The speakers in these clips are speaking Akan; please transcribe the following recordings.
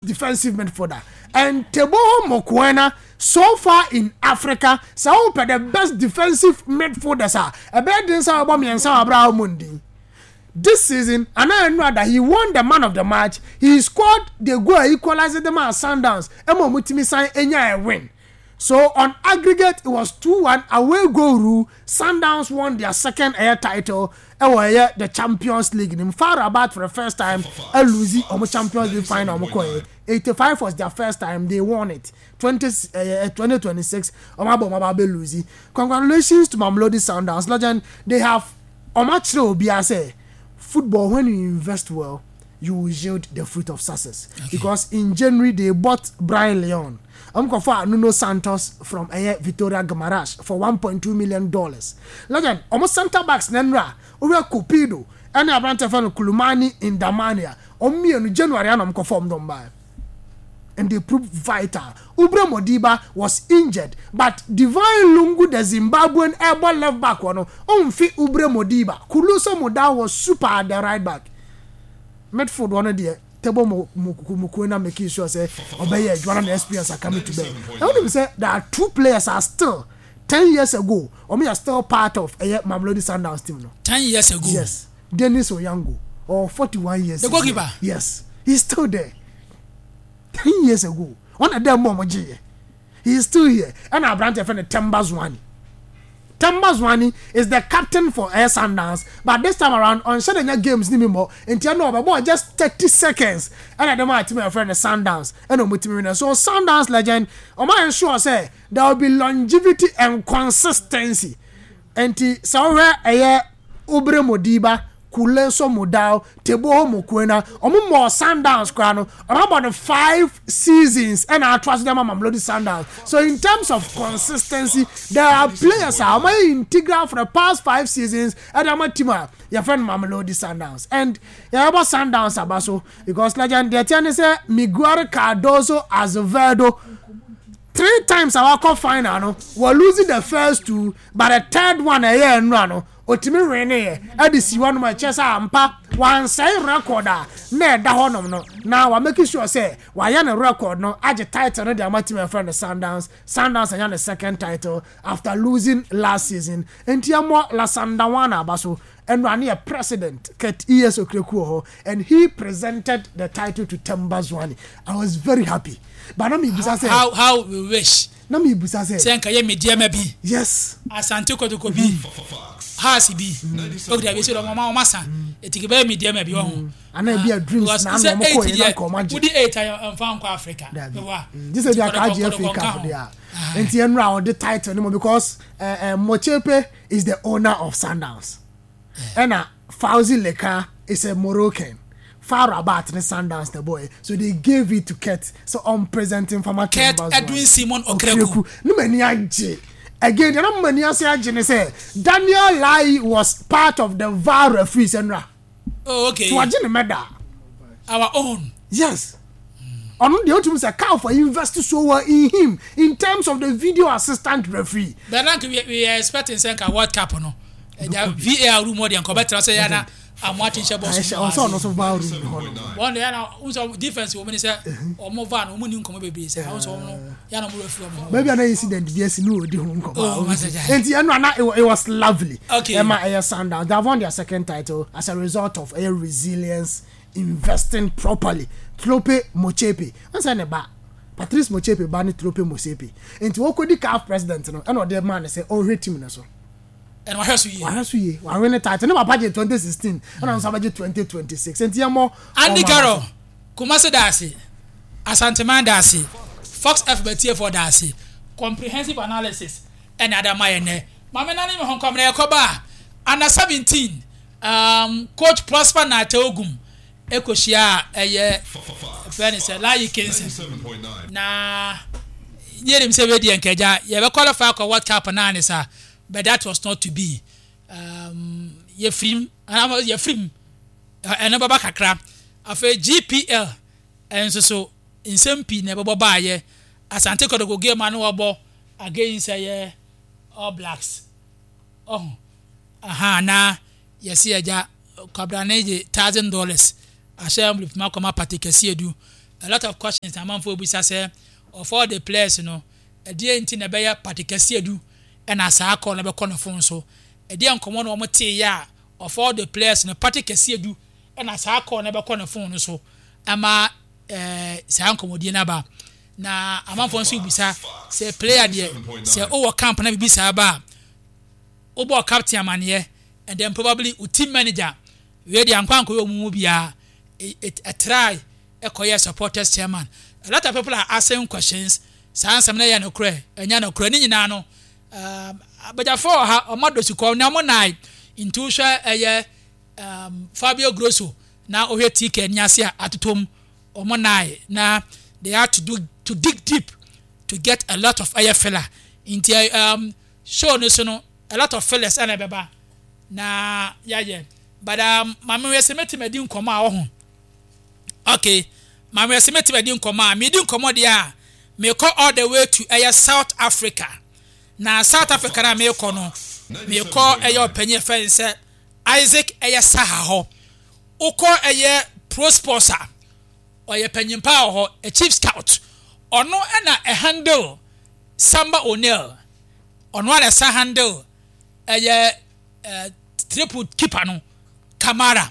Defensive midfielder and Teboho Mokoena so far in Africa, sɛ wopɛ the best defensive midfielders a, ɛbɛyɛ den sɛ wɔbɔ mmiɛnsa wɔ abere a wɔn ndin. This season, anaa nnura he won the man of the match. He scored the goal a equalized them at Sundowns ɛma wɔn tumi san enya a win. So on aggregate, it was 2-1 away goal rule. Sundowns won their second ɛyɛ title ɛwɔ ɛyɛ the Champions League nim. FAR Rabat for the first time ɛlose ɔmo Champions League final ɔmo kɔ yɛ. 85 was their first time they won it. 20 2026 ɔmo abɔ ɔmo aba abɛ lose. Congratulations to Mamelodi Sundowns legend. They have ɔmo akyerɛ obiara sɛ football, when you invest well, you will yield the fruit of success. Because in January they bought Brayan Leon. Ɔmo kɔfa Nuno Santos from ɛyɛ Vitoria Guimaraes for $1.2 million. Legend, ɔmo centre backs na nnura owura Cupido ɛne aberante fɛ no Khulumani Ndamane a ɔmo mmienu January ana ɔmo kɔfa ɔmo dɔm baa and they proved vital. Aubrey Modiba was injured, but Divine Lungu, the Zimbabwean ɛbɔ left back wɔ no, ɔmfi Aubrey Modiba. Khuliso Mudau was super at the right back. Midfield wɔ no deɛ, Tebo Mokoena making sure sɛ ɔbɛyɛ adwuma na experience aka to bɛn. Na wonim sɛ there are two players are still 10 years ago, ɔmo yɛ still part of ɛyɛ Mamelodi Sundowns team no. 10 years ago? Yes. Dennis Onyango, or 41 years. The goalkeeper? Yes. He's still there. 10 years ago. Ɔna dɛ mo ɔmo gye yɛ. He is still here. Ɛna aberante fɛ no Themba Zwane. Themba Zwane is the captain for Air Sundowns, but this time around ɔnhyɛ de nya games ni mi mɔ nti ɛna ɔbɛbɔ just 30 seconds ɛna dɛm a team ɛfrɛ no Sundowns ɛna ɔmo team winner. So Sundowns legend, ɔmo ayɛ sure sɛ there will be longevity and consistency. Nti sɛ ɔhwɛ ɛyɛ Aubrey Modiba, Khuliso Mudau, Teboho Mokoena, ɔmo mɔ Sundowns koraa no, ɔmo abɔ no five seasons ɛna ato aso dɛm ama Mamelodi Sundowns. So in terms of consistency, there are players a ɔmo ayɛ integral for the past five seasons ɛde ama team a yɛfrɛ no Mamelodi Sundowns. And yɛbɔ Sundowns aba so because legend deɛ teɛ ne sɛ Miguel Cardoso Azevedo, three times a wakɔ final no, wɔ losing the first two, but the third one ɛyɛ nnura no otumi win yɛ ɛde si hɔnom a ɛkyɛ sɛ ampa wansɛe record a na ɛda hɔnom no na wa make sure sɛ wayɛ ne record no agye title no de ama team ɛfrɛ no Sundowns. Sundowns anya ne second title after losing last season. Nti ɛmɔ La Sandawana aba so. Ɛnura ne yɛ president Kurt E.S. Okraku wɔ hɔ and he presented the title to Themba Zwane. I was very happy, but na mi bisa sɛ How we wish na mi bisa sɛ sɛ nka yɛ Medeama bi, Asante Kotoko bi, Hearts bi okita bi sɛ ɔmo ɔmo asa etiki bɛyɛ Medeama bi ɔho. Ana ebi a Dreams na ano ɔmo kɔ yɛ na nka ɔmo agye. Wodi eight a nfa nkɔ Africa. Dabi, gye sɛ bi aka agye FA Cup de a. Nti ɛnura ɔde title no mu because Motsepe is the owner of Sundowns ɛna Fauzi Lekjaa is a Moroccan. FAR Rabat ne Sundowns the boy, so they gave it to Kurt so on presenting fama. Kurt Edwin Simon Okraku. Ne mani agye again deɛ na mani ase agye ne sɛ Daniel Laryea was part of the VAR referees ɛnura. So wagye ne medal. Our own. Yes, ɔno deɛ otum sɛ CAF invest so well in him in terms of the video assistant referee. But now we are expecting sɛ nka World Cup no ɛja VAR room hɔ deɛ nka ɔbɛtena sɛ yɛn na amu ati nhyɛ bɔs mu. Ɔsɛ ɔno so VAR room hɔ no. Wɔn de yɛn na n sɛ difference wɔ mu ni sɛ ɔmo VAR no ɔmo ni nkɔmɔ bebree sɛ ɔmo sɛ ɔmo no yɛn na ɔmo referee ɔmo ho. Baabi a na incident bi asi ne odi ho nkɔmɔ. Oh, nti ɛno ana it was lovely. Ɛma ɛyɛ Sundowns, they have won their second title as a result of ɛyɛ resilience, investing properly. Tlhope Motsepe n sɛ ne ba Patrice Motsepe ba ne Tlhope Motsepe nti wɔkɔdi CAF president no ɛna ɔde maa ne sɛ ɔnhwɛ team no so. Ɛna wahwɛ so yie. Wahwɛ so yie, wahwɛ ne title ne papa gye 2016 ɛna nso abɛgye 2026 nti yɛn mɔ. Andy Carroll, Kumasi daase, Asanteman daase, Fox FM atiefoɔ daase, comprehensive analysis ɛna ada ma yɛn nɛ. Maame nane mi ho nkɔm na yɛkɔba a under 17 coach Prosper Narteh Ogum ekohyia a ɛyɛ fɛ ne sɛ Laryea Kingston na yɛnim sɛ wɛdi nkagya yɛbɛ qualify akɔ World Cup naa ne sa, but that was not to be. Yɛfirim ɛno bɛba kakra. Afei GPL nso so nsɛm pii na ɛbɛbɔ baayɛ. Asante Kotoko game a no wɔbɔ against ɛyɛ All Blacks ɔho aha na yɛsi agya kwabrane gye $1,000 ahyɛ envelope mu akɔma Patrick Asiedu. A lot of questions na amanfoɔ bisa sɛ of all the players no, ɛdeɛn nti na ɛbɛyɛ Patrick Asiedu ɛna saa call no bɛkɔ ne phone so? Ɛdeɛn nkɔmmɔ na wɔn teeɛ a of all the players no Patrick Asiedu ɛna saa call no bɛkɔ ne phone no so ɛma ɛɛ saa nkɔmmɔdie no aba? Na amanfoɔ nso bisa sɛ player deɛ sɛ wowɔ camp na biribi saa ba a wobɔ captain amaneɛ and then probably wo team manager. Wei deɛ ankɔ ankɔyɛ wɔn mu biara, it ɛtrae ɛkɔyɛ supporters chairman. A lot of people are asking questions, saa nsɛm no yɛ nokorɛ, ɛnyɛ nokorɛ, ne nyinaa no um, abagyafoɔ wɔ ha, wɔn adɔ sukɔ, na wɔn nan nti wohwɛ ɛyɛ um, Fabio Grosso na wohwɛ TK ani ase a atotom wɔn nan na they had to do to dig deep to get a lot of ɛyɛ filler nti um, show no so no a lot of fillers ɛna ɛbɛba. Na yɛayɛ but um, maame wɛ sɛ mɛtumi adi nkɔmmɔ a ɔho okay maame wɛ sɛ mɛtumi adi nkɔmmɔ a medi nkɔmmɔ deɛ a mekɔ all the way to ɛyɛ South Africa na South Africa na mekɔ no mekɔ ɛyɛ ɔpanyin ɛfɛ sɛ Isaac ɛyɛ Saha hɔ wokɔ ɛyɛ Pro Sports a ɔyɛ panyin paa wɔ hɔ a chief scout ɔno ɛna ɛhandle Samba O'Neil ɔno a na ɛsa handle ɛyɛ eh, triple keeper no Kamara.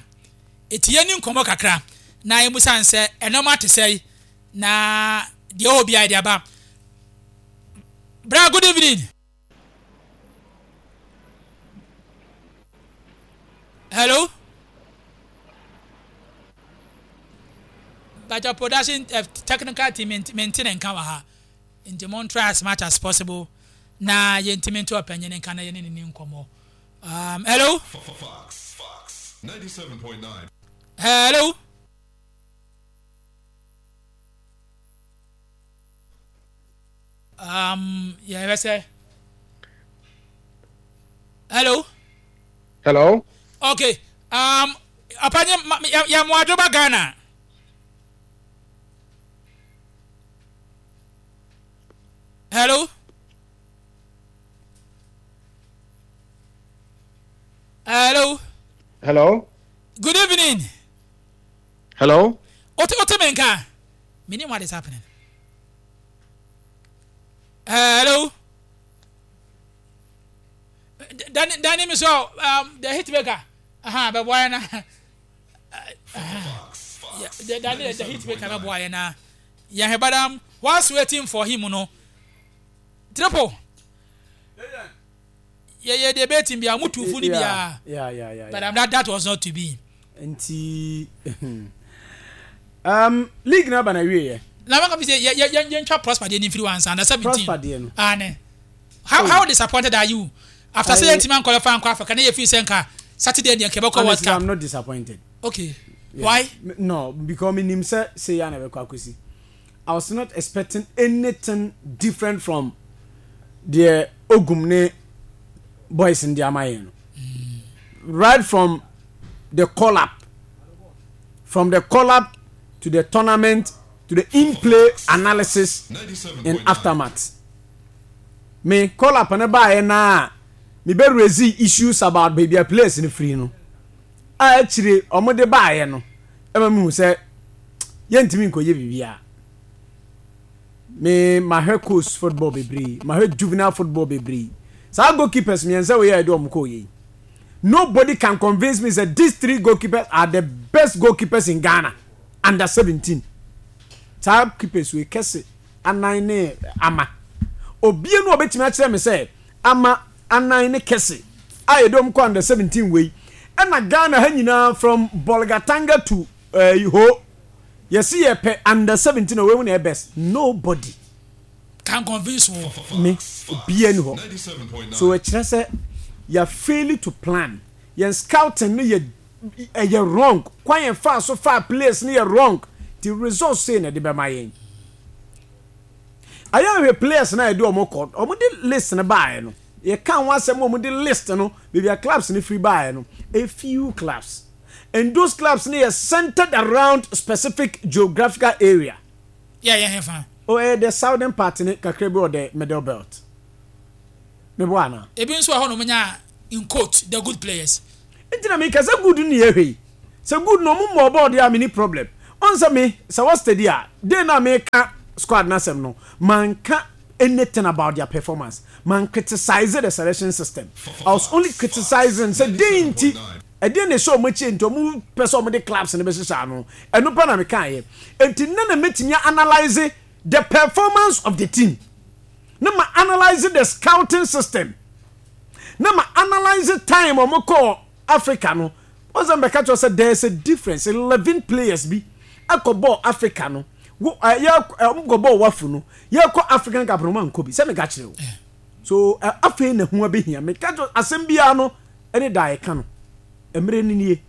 Eti yɛni nkɔmmɔ kakra na yɛmusa no sɛ ɛnɔma te sɛe na deɛ ɔwɔ biara de aba. Bra, good evening. Hello. But your production uh, technical team maintain and nka wɔ ha. Nti mon try as much as possible na yɛntumi nto ɔpanyin nka na yɛne ne ni nkɔmmɔ. Um, hello? Fox, Fox, 97.9. Hello? Um, yɛhwɛ sɛ. Hello? Hello? Okay. Um, ɔpanyin, yɛ mo adwoba Ghana. Hello. Hello. Hello. Good evening. Hello. Ote ote menka. Meaning what is happening? Hello. Danny Danny me so um the hit maker. Aha, but why na? Yeah, Danny the hit maker but why na? Yeah, but um whilst waiting for him no. Triple. Yeah, yeah, debating bi amutu fu ni bia. Yeah. But um, that was not to be. Nti league na ba na wie yɛ. Na maka fi sɛ yɛ yɛ yɛn twa Prosper deɛ ni nfiri wansa under 17. Prosper deɛ no. Ah ne. How disappointed are you after sɛ yɛn ntumi ankɔlɛfa ankɔ Africa na yɛ fi sɛ nka Saturday deɛ nka ɛbɛkɔ World Cup. I'm not disappointed. Okay. Yeah. Why? No, because me nim sɛ sɛ yɛ na ɛbɛkɔ akɔsi. I was not expecting anything different from deɛ Ogum ne boys no de ama yɛn no. Right from the call up, from the call up to the tournament to the in-play analysis and aftermath. Me call up no baeɛ na me bɛ raise issues about baabi a players no firi no a akyire wɔn de baeɛ no ɛma mehu sɛ yɛntumi nkɔyɛ biribiara. Me mahwɛ coast football bebree, mahwɛ juvenile football bebree. Saa goalkeepers mmiɛnsa wei a yɛde wɔn kɔɔ yɛ yi. Nobody can convince me that these three goalkeepers are the best goalkeepers in Ghana under 17. Saa keepers wei kɛse anan ne ama. Obie no obetumi akyerɛ me sɛ ama anan ne kɛse a yɛde wɔn kɔ under 17 wei. Ɛna Ghana ha nyinaa from Bolgatanga to uh, Ho Yɛse yɛpɛ under 17 a wei mu na ɛyɛ best nobody. Can convince wo. Me obiara ni hɔ so ɛkyerɛ sɛ yɛ fail to plan yɛn scouting no yɛ ɛyɛ wrong kwan yɛn faa so faa players no yɛ wrong ti results sei na ɛde bɛma yɛn ayɛ ahwɛ players na yɛde wɔn kɔ wɔn de list no baeɛ no yɛka ho asɛm wɔn de list no baabi a clubs no firi baeɛ no a few clubs. And those clubs no yɛ centered around specific geographical area. Yeah, yeah, hefa. Oh, ɛyɛ the southern part ne kakra bi wɔ the middle belt. Meboa ana? Ebi nso wɔ hɔ nom nya in quote the good players. Nti na meka sɛ good ne yɛhwɛ yi. Sɛ good na ɔmo mmɔɔ bɔɔl deɛ a menni problem. Ɔn sɛ me, sɛ wɔ steady a, day no a meka squad no asɛm no, manka anything about their performance. Man criticize the selection system. I was only criticizing sɛ dɛn nti, ɛdeɛn na ɛhyɛ wɔn akyi nti wɔn pɛ sɛ wɔn de clubs no bɛhyehyɛ ano. Ɛno pɛ na mekaeɛ. Enti nnɛ na mɛtumi a analyse the performance of the team. Na ma analyse the scouting system. Na ma analyse time wɔn kɔɔ Africa no. Wɔn sɛ mbɛka kyerɛ sɛ there is a difference 11 players bi ɛkɔ bɔɔ Africa no wo ɛyɛ wɔn kɔ bɔɔ wafu no yɛkɔ African Cup no wɔn ankɔ bi sɛ meka kyerɛ o so afei na ho abɛhia meka kyerɛ asɛm biara no ɛne da ɛka no mmerɛ no nie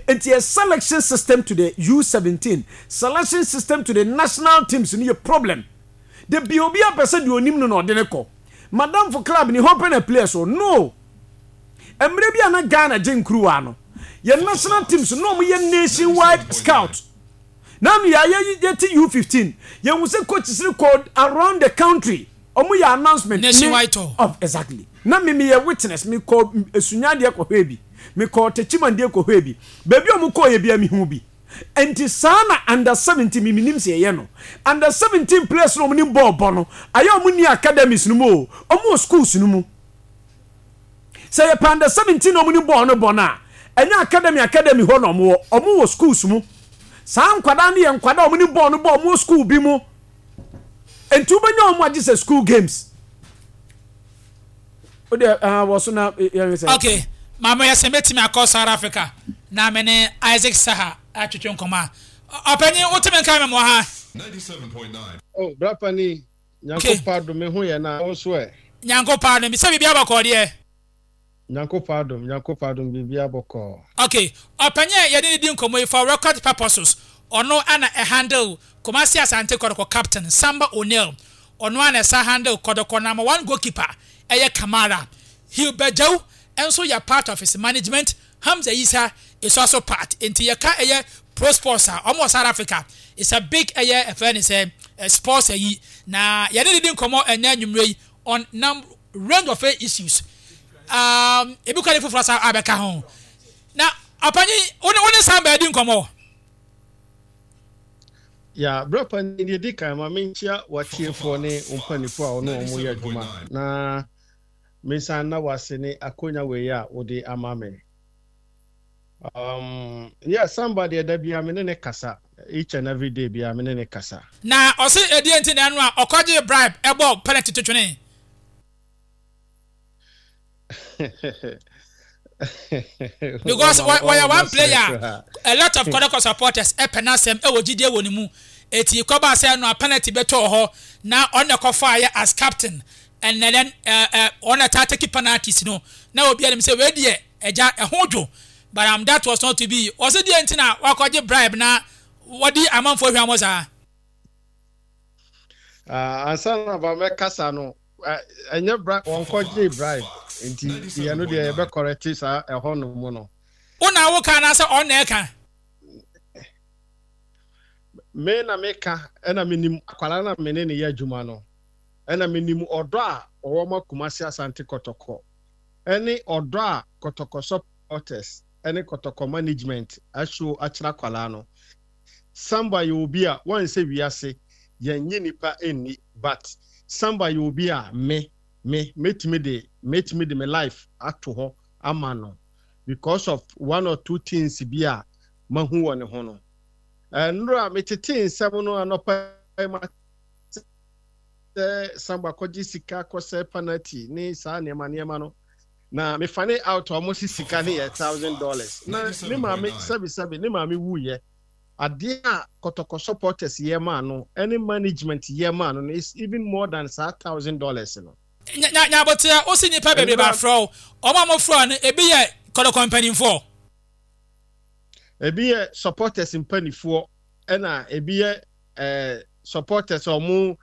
nti yɛ selection system to the U17 selection system to the national teams no yɛ problem de bi obi apɛ sɛ deɛ onim no na ɔde ne kɔ madamfo club ni hɔ pɛ na players o no Mmerɛ bi a na Ghana gye nkuruwa no, yɛn national teams no na wɔn yɛ nation wide scout. Na ano yɛ ayɛ yɛte U15, yɛn hu sɛ coaches no kɔ around the country, wɔn yɛ announcement. Nationwide tour. Of exactly. Na me me yɛ witness, me kɔ Esunyadeɛ kɔ hwɛɛ bi, me kɔ Techimandeɛ kɔ hwɛɛ bi, baabi a wɔn kɔɔ yɛ bia me hu bi. Nti saa na under 17 me menim sɛ yɛyɛ no. Under 17 players no wɔn nim bɔɔl bɔ no, ayɛ wɔn ni academies no mu o, wɔn wɔ schools no mu. Sɛ yɛpɛ under 17 na wɔn nim bɔɔl no bɔ no a, ɛnyɛ academy academy hɔ na wɔn wɔ, wɔn wɔ schools mu. Saa nkwadaa no yɛ nkwadaa a wɔn nim bɔɔl no bɔ, wɔn wɔ school bi mu. Nti wobɛnya wɔn agye sɛ school games. O deɛ ɛɛ wɔ so na yɛn sɛ. Okay, maame yɛ sɛ mɛtumi akɔ South Africa na me ne Isaac Saha atwetwe nkɔmɔ a. Ɔpanyin wotumi nka me mɔ ha. 97.9. Oh, bra panin, Nyankopɔn adom me ho yɛ na wo nso ɛ? Nyankopɔn adom, sɛ biribiara bɔkɔɔ deɛ? Nyankopɔn adom, Nyankopɔn adom biribiara bɔkɔɔ. Ok, ɔpanyin a yɛne no di nkɔmmɔ yi for record purposes, ɔno na ɛhandle Kumasi Asante Kɔtɔkɔ captain Samba O'Neil, ɔno ara na ɛsan handle Kɔtɔkɔ number one goalkeeper ɛyɛ Kamara, Hilbert Gyau nso yɛ part of his management, Hamza Yisa is also part, nti yɛka ɛyɛ Pro Sports a, wɔn wɔ South Africa, it's a big ɛyɛ ɛfɛ ne sɛ sports ayi, na yɛne no di nkɔmmɔ ɛnɛ anwummerɛ yi on num range of issues, um, ebi kora ne foforɔ asa abɛka ho. Na ɔpanyin, wo ne wo ne Samba adi nkɔmmɔ? Ya, berɛ pa ni deɛ di kan ma menkyia w'atiefoɔ ne wo mpanimfoɔ a wɔne wɔn yɛ adwuma na Mensan nna wo ase ne akonya wei a wode ama me. Um, yeah, Samba deɛ da biara me ne ne kasa. Each and every day biara me ne ne kasa. Na ɔse ɛdeɛn nti na ɛno a ɔkɔgyee bribe ɛbɔɔ penalty to twenee? Because wɔyɛ one player a lot of Kɔtɔkɔ supporters ɛpɛ n'asɛm ɛwɔ gyidie wɔ ne mu. Eti kɔbaa sɛ ɛno a penalty bɛtɔɔ hɔ na ɔno na ɛkɔfaeɛ as captain and then ɔno na ɛtaa take penalties no na obi anim sɛ wei deɛ ɛgya ɛho dwo but um, that was not to be. Ɔsɛ deɛ nti na wakɔgye bribe na wɔde amanfoɔ hwammɔ saa. Uh, ansa na ba mɛkasa no ɛnyɛ bribe wɔnkɔgyee bribe nti yɛn no deɛ yɛbɛkɔrɛte saa ɛhɔ no mu no. Wo na woka anaasɛ ɔno na ɛka? Me na meka ɛna menim akwadaa na me ne ne yɛ adwuma no ɛna menim ɔdɔ a ɔwɔ ma Kumasi Asante Kɔtɔkɔ ɛne ɔdɔ a Kɔtɔkɔ supporters ɛne Kɔtɔkɔ management ahyɛ akyerɛ akwadaa no. Samba yɛ obi a wansɛ wiase yɛnnye nipa nni but Samba yɛ obi a me me mɛtumi de mɛtumi de me life ato hɔ ama no because of one or two things bi a mahu wɔ ne ho no. Nnora metetee nsɛm no anɔpa yi mate sɛ Samba kɔgye sika kɔsɛ penalty ne saa nneɛma nneɛma no na me fane out a wɔn si sika ne yɛ $1,000 na ne maame sɛbi sɛbi ne maame wuyɛ adeɛ a Kɔtɔkɔ supporters yɛ maa no ɛne management yɛ maa no no is even more than saa $1,000 no. Nya nya nyaboterɛ wo se nnipa bebree ba frɛ wo wɔn a wɔfrɛ wo no ebi yɛ Kɔtɔkɔ mpanimfoɔ. Ebi yɛ supporters mpanimfoɔ ɛna ebi yɛ ɛɛ supporters a wɔn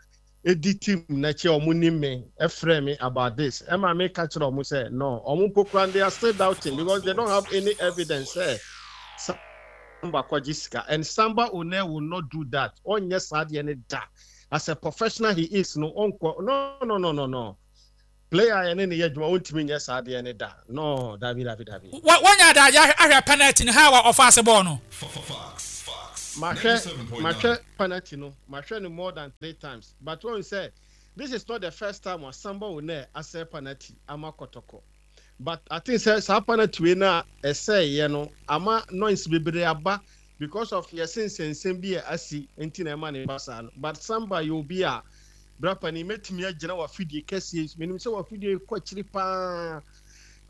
edi team n'akyi a wɔn nim me ɛfrɛ me about this ɛma me ka kyerɛ wɔn sɛ no wɔn mpo koraa they are still doubting because they don't have any evidence sɛ Samba kɔgye sika and Samba Onel will not do that ɔnyɛ saa deɛ ne da as a professional he is no ɔnkɔ no no no no no player a yɛne ne yɛ adwuma ɔntumi nyɛ saa deɛ ne da no dabi dabi dabi. Wanya adagye ahwɛ penalty no how a ɔfa ase bɔɔl no. Mahwɛ mahwɛ penalty no, mahwɛ no more than 3 times, but wɔn sɛ this is not the first time a Samba Onel asɛe penalty ama Kɔtɔkɔ. But I think sɛ saa penalty wei no a ɛsɛeɛ no ama noise bebree aba because of yɛse nsɛnsɛm bi a asi nti na ɛma no ba saa no. But Samba yɛ obi a bra panin mɛtumi agyina w'afidie kɛseɛ yi so, menim sɛ w'afidie yi kɔ akyiri paa,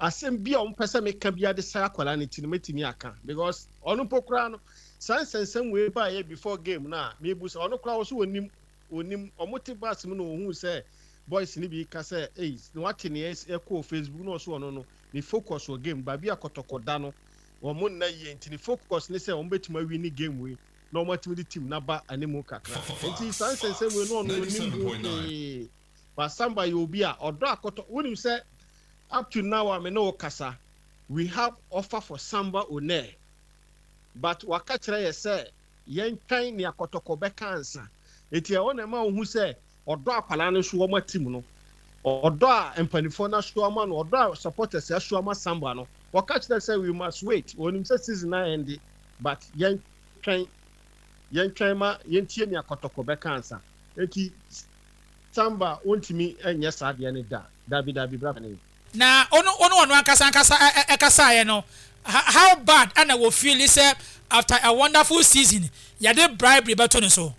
asɛm bi a wɔpɛ sɛ meka biara de sɛe akwadaa no ti no mɛtumi aka because ɔno mpo koraa no saa nsɛnsɛm wei baeɛ before game no a mebu sɛ ɔno koraa ɔso ɔnim ɔnim ɔmo te bus mu na ɔhuu sɛ boys no bi ka sɛ ei na wate nea ɛkɔɔ Facebook na ɔso ɔno no ne focus wɔ game baabi a kɔtɔkɔ da no wɔn nna yie nti ne focus ne sɛ wɔn bɛtumi awi ne game wei na wɔn atumi de team no aba animu kakra nti saa nsɛnsɛm wei no ɔno ɔnim ho hwee. But Samba yɛ obi a ɔdɔ akɔtɔ wonim sɛ up to now a me ne wo kasa we have offer for Samba Oneh but waka kyerɛ yɛ sɛ yɛntwɛn nea kɔtɔkɔ bɛka ansa nti ɛhɔ na ɛma wohu sɛ ɔdɔ akwadaa no nso wɔma team no ɔdɔ a mpanifoɔ no aso ama no ɔdɔ a supporters aso ama Samba no wɔka kyerɛ sɛ we must wait wɔnim sɛ season na ɛnde but yɛntwɛn yɛntwɛn ma yɛntie nea kɔtɔkɔ bɛka ansa nti Samba wontumi nyɛ saa adeɛ no da dabi dabi bra panin. Na ono ono ɔno ankasa ankasa ɛkasaeɛ no how bad ɛna wɔ feeli sɛ after a wonderful season yɛde bribery bɛto ne so.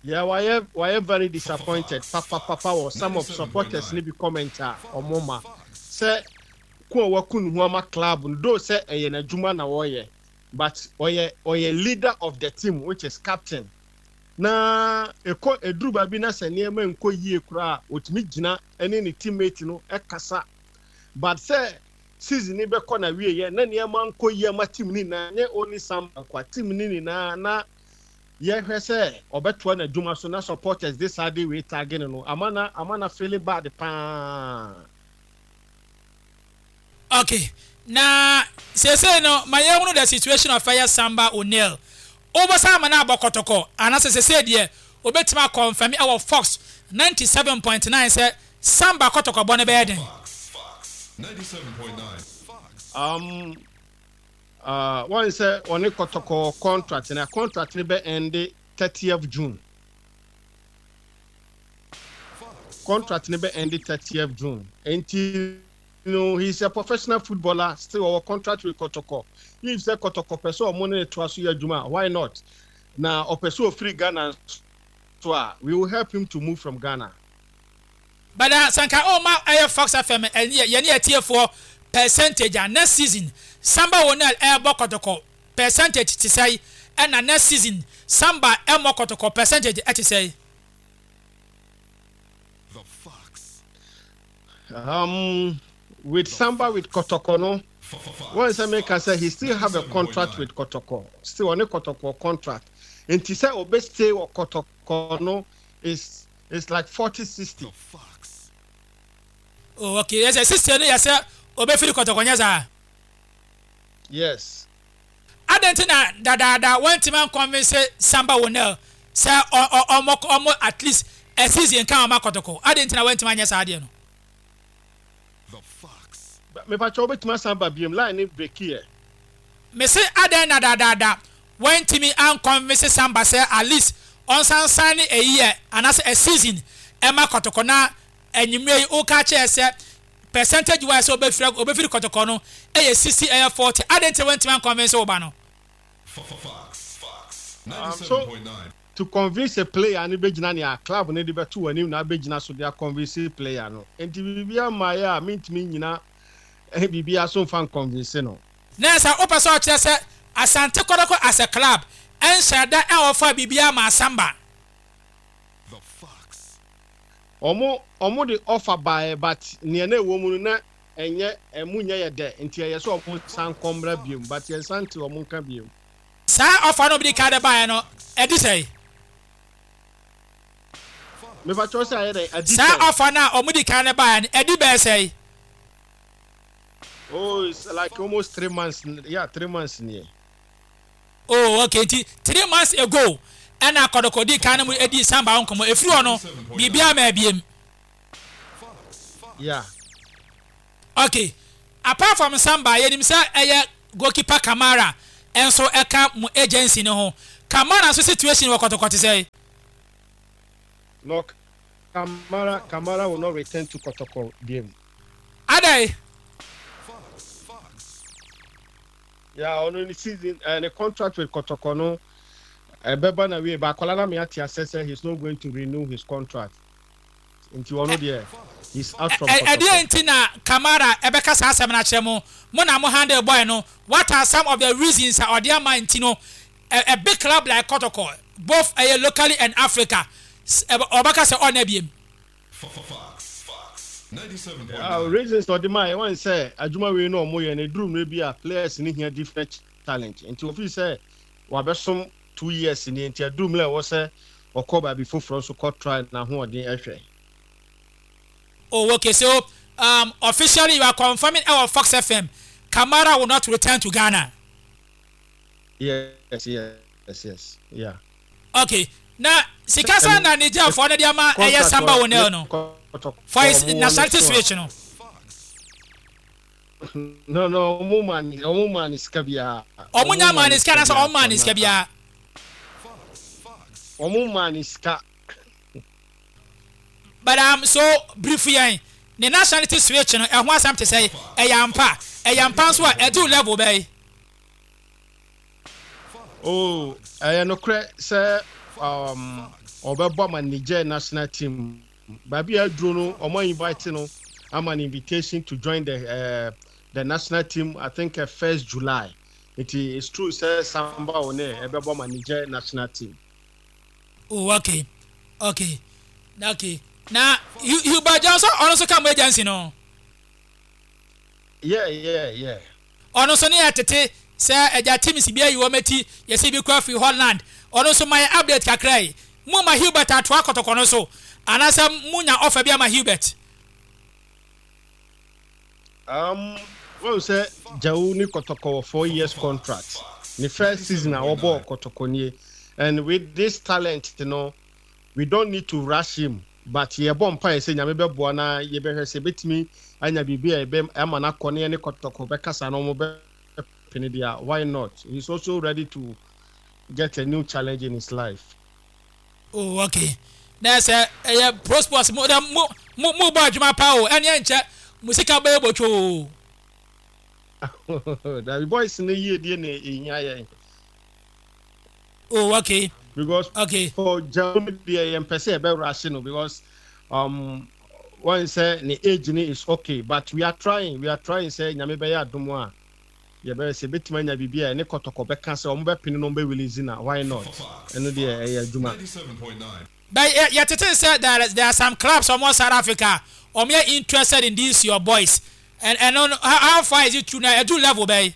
Yeah wayɛ wayɛ very disappointed papapapa wɔ some of supporters no bi comment a ɔmo ma sɛ ko a waku ne ho ama club no though sɛ ɛyɛ n'adwuma na ɔyɛ but ɔyɛ ɔyɛ leader of the team which is captain na ɛkɔ ɛduru baabi na sɛ nneɛma nkɔ yie koraa a ɔtumi gyina ne ne teammate no kasa but sɛ season no bɛkɔ na wieɛ na nneɛma nkɔ yie ama team no nyinaa nyɛ only Samba nkoa team no nyinaa na yɛhwɛ sɛ ɔbɛtoa n'adwuma so na supporters de saa de wei tag no no ama na ama na feeling bad paa. Ok na seesei no ma yɛnhunu the situation of ɛyɛ Samba O'Neil. Wobɛsan ama no abɔ kɔtɔkɔ anaasɛ seesei deɛ wobɛtumi akɔnfɛme ɛwɔ Fox 97.9 sɛ Samba kɔtɔkɔbɔ no bɛyɛ den? Um, uh, wɔn sɛ wɔne kɔtɔkɔ contract na contract no bɛ end 30th June. Contract no bɛ end 30th June. Enti no he is a professional footballer still ɔwɔ contract with Kɔtɔkɔ. If sɛ Kɔtɔkɔ pɛ sɛ ɔmo ne no toa so yɛ adwuma a why not? Na ɔpɛ sɛ ɔfiri Ghana nso a we will help him to move from Ghana. But ah sɛ nka ɔma ɛyɛ Fox FM ɛne yɛne atiefoɔ percentage a next season Samba Onel ɛɛbɔ Kɔtɔkɔ percentage te sɛe ɛna next season Samba ɛmmɔ Kɔtɔkɔ percentage ɛte sɛe? Um, with Samba with Kotoko no, wɔn sɛ meka sɛ he still have a contract with Kotoko. Still ɔne Kotoko contract. Nti sɛ ɔbɛ stay wɔ Kotoko no is is like 40-60. Oh, okay. Yɛ sɛ 60 no yɛ sɛ ɔbɛfiri Kotoko nyɛ saa? Yes. Adɛn nti na dadaada wantumi anconvince Samba Wonel sɛ ɔmmɔ ɔmmɔ at least a season nka ɔma Kɔtɔkɔ? Adɛn nti na wantumi anyɛ saa adeɛ no? Mepakyɛ wobɛtumi asan ba biom line no breaki ɛ. Mese adɛn na dadaada wantumi anconvince Samba sɛ at least ɔnsan sign a year anaasɛ a season ɛma Kɔtɔkɔ na anwummerɛ yi woka kyerɛ sɛ Percentage wise sɛ obefiri obefiri kɔtɔkɔ no yɛ 60 ɛyɛ 40 adɛn nti na wantumi anconvince wo ba no? So to convince a player no bɛgyina nea club no de bɛto w'anim na abɛgyina so de aconvince player no. Nti biribiara mmaeɛ a mentumi nnyina biribiara so mfa nconvince no. Na sɛ wopɛ sɛ ɔkyerɛ sɛ Asante Kɔtɔkɔ as a club nhyɛɛ da nɔfaa biribiara maa Samba. Ɔmo ɔmo de offer baeɛ but neɛ na ɛwɔ mu no na ɛnyɛ ɛmu nyɛ yɛ dɛ nti ɛyɛ sɛ ɔmo san kɔ mmra biom but yɛn san nte ɔmo nka biom. Saa offer no a ɔmo de kan de baeɛ no ɛdi sɛn? Mepakyɛw sɛ ayɛ dɛn? Adi Saa sɛn? offer no a ɔmo di kan de baeɛ no ɛdi bɛyɛ sɛn? Oh it's like almost 3 months yeah 3 months nie. Oh okay nti 3 months ago ɛna kɔdɔkɔ dii kan ne mo dii samba ho nkɔmmɔ ɛfiri hɔ no biribiara maa biem. Yeah. Okay apart from samba yɛnim sɛ ɛyɛ goalkeeper Kamara. nso ka mo agency no ho. Kamara nso situation wɔ Kɔtɔkɔ te sɛn? No Kamara Kamara will not return to Kɔtɔkɔ biom. Adɛn? Yeah, ɔno ne season eh, ne contract with Kɔtɔkɔ no ɛbɛba na wie ba akwadaa na me ate asɛ sɛ he's not going to renew his contract nti ɔno deɛ he's out from Kɔtɔkɔ. Ɛdeɛn nti na Kamara ɛbɛka saa asɛm no akyerɛ mo? Mo na mo handle boy no, what are some of the reasons a ɔde ama nti no a big club like Kɔtɔkɔ both ɛyɛ locally and Africa ɔbɛka sɛ ɔnna biem? Reasons a ɔde mae wɔn sɛ adwuma wei na wɔyɛ no ɛduru mmerɛ bi a players no hia different challenge nti ɔfii sɛ wabɛsom 2 years nie nti ɛduru mmerɛ a ɛwɔ sɛ ɔkɔ baabi foforɔ nso kɔ try n'ahoɔden ɛhwɛ. Oh okay so officially you are confirming ɛwɔ Fox FM Kamara will not return to Ghana. Yes, yeah. Okay na sika sɛn na Niger foɔ no de ama ɛyɛ Samba O'Neil no for his nationality switch no? No, ɔmo maa ne sika biara. Ɔmo nya maa ne sika anaasɛ ɔmo maa ne sika biara? Ɔmo maa ne sika. But so brief yɛn ne nationality switch no ɛho asɛm te sɛ ɛyɛ ampa ɛyɛ ampa nso a ɛdu level bɛyi? Oh, ɛyɛ nokorɛ sɛ ɔbɛbɔ ama Niger national team. Baabi a aduro no, ɔmo invite no ama no invitation to join the national team, I think 1st July. Nti it's true sɛ Samba O'Neil ɛbɛbɔ ama Niger national team. Oh, okay. Na Hubert Johnson ɔno nso ka mo agency no? Yeah. Ɔno nso ne yɛ tete sɛ agya teams bi ayi wɔn ati, yɛsi bi kura firi Holland. Ɔno nso ma yɛ update kakra yi. Mo ma Hubert atoa kɔtɔkɔ no so anaasɛ mo nya offer bi ama Hubert? Wɔn sɛ Jawu ne Kɔtɔkɔ wɔ 4 years contract. Ne first season a wɔbɔɔ Kɔtɔkɔ nie. And with this talent we don't need to rush him. But yɛbɔ mpaeɛ sɛ Nyame bɛboa na yɛbɛhwɛ sɛ yɛbɛtumi anya biribi a yɛbɛ ama no akɔ ne yɛne Kɔtɔkɔ bɛkasa na wɔn bɛpene deɛ a, why not? He's also ready to get a new challenge in his life. Oh, okay. Na sɛ ɛyɛ pro sports mo dɛ mo bɔ adwuma pa o, ɛne ɛnkyɛ mo sika bɛyɛ botwo o. Dabi, boys no yie die na ehia yɛn. Oh, okay. Because for Germany deɛ yɛn pɛ sɛ yɛbɛ rush no because wɔn sɛ ne age ni is okay, but we are trying sɛ Nyame bɛyɛ adom a yɛbɛyɛ sɛ ebɛtumi anya biribi a ɛne Kɔtɔkɔ bɛka sɛ wɔn bɛpene no, wɔn bɛ release na why not? Ɛno deɛ ɛyɛ adwuma. But yɛtete sɛ there are some clubs ɔmo South Africa ɔmo yɛ interested in these your boys and ɛno how far is it true na ɛdu level bɛyi?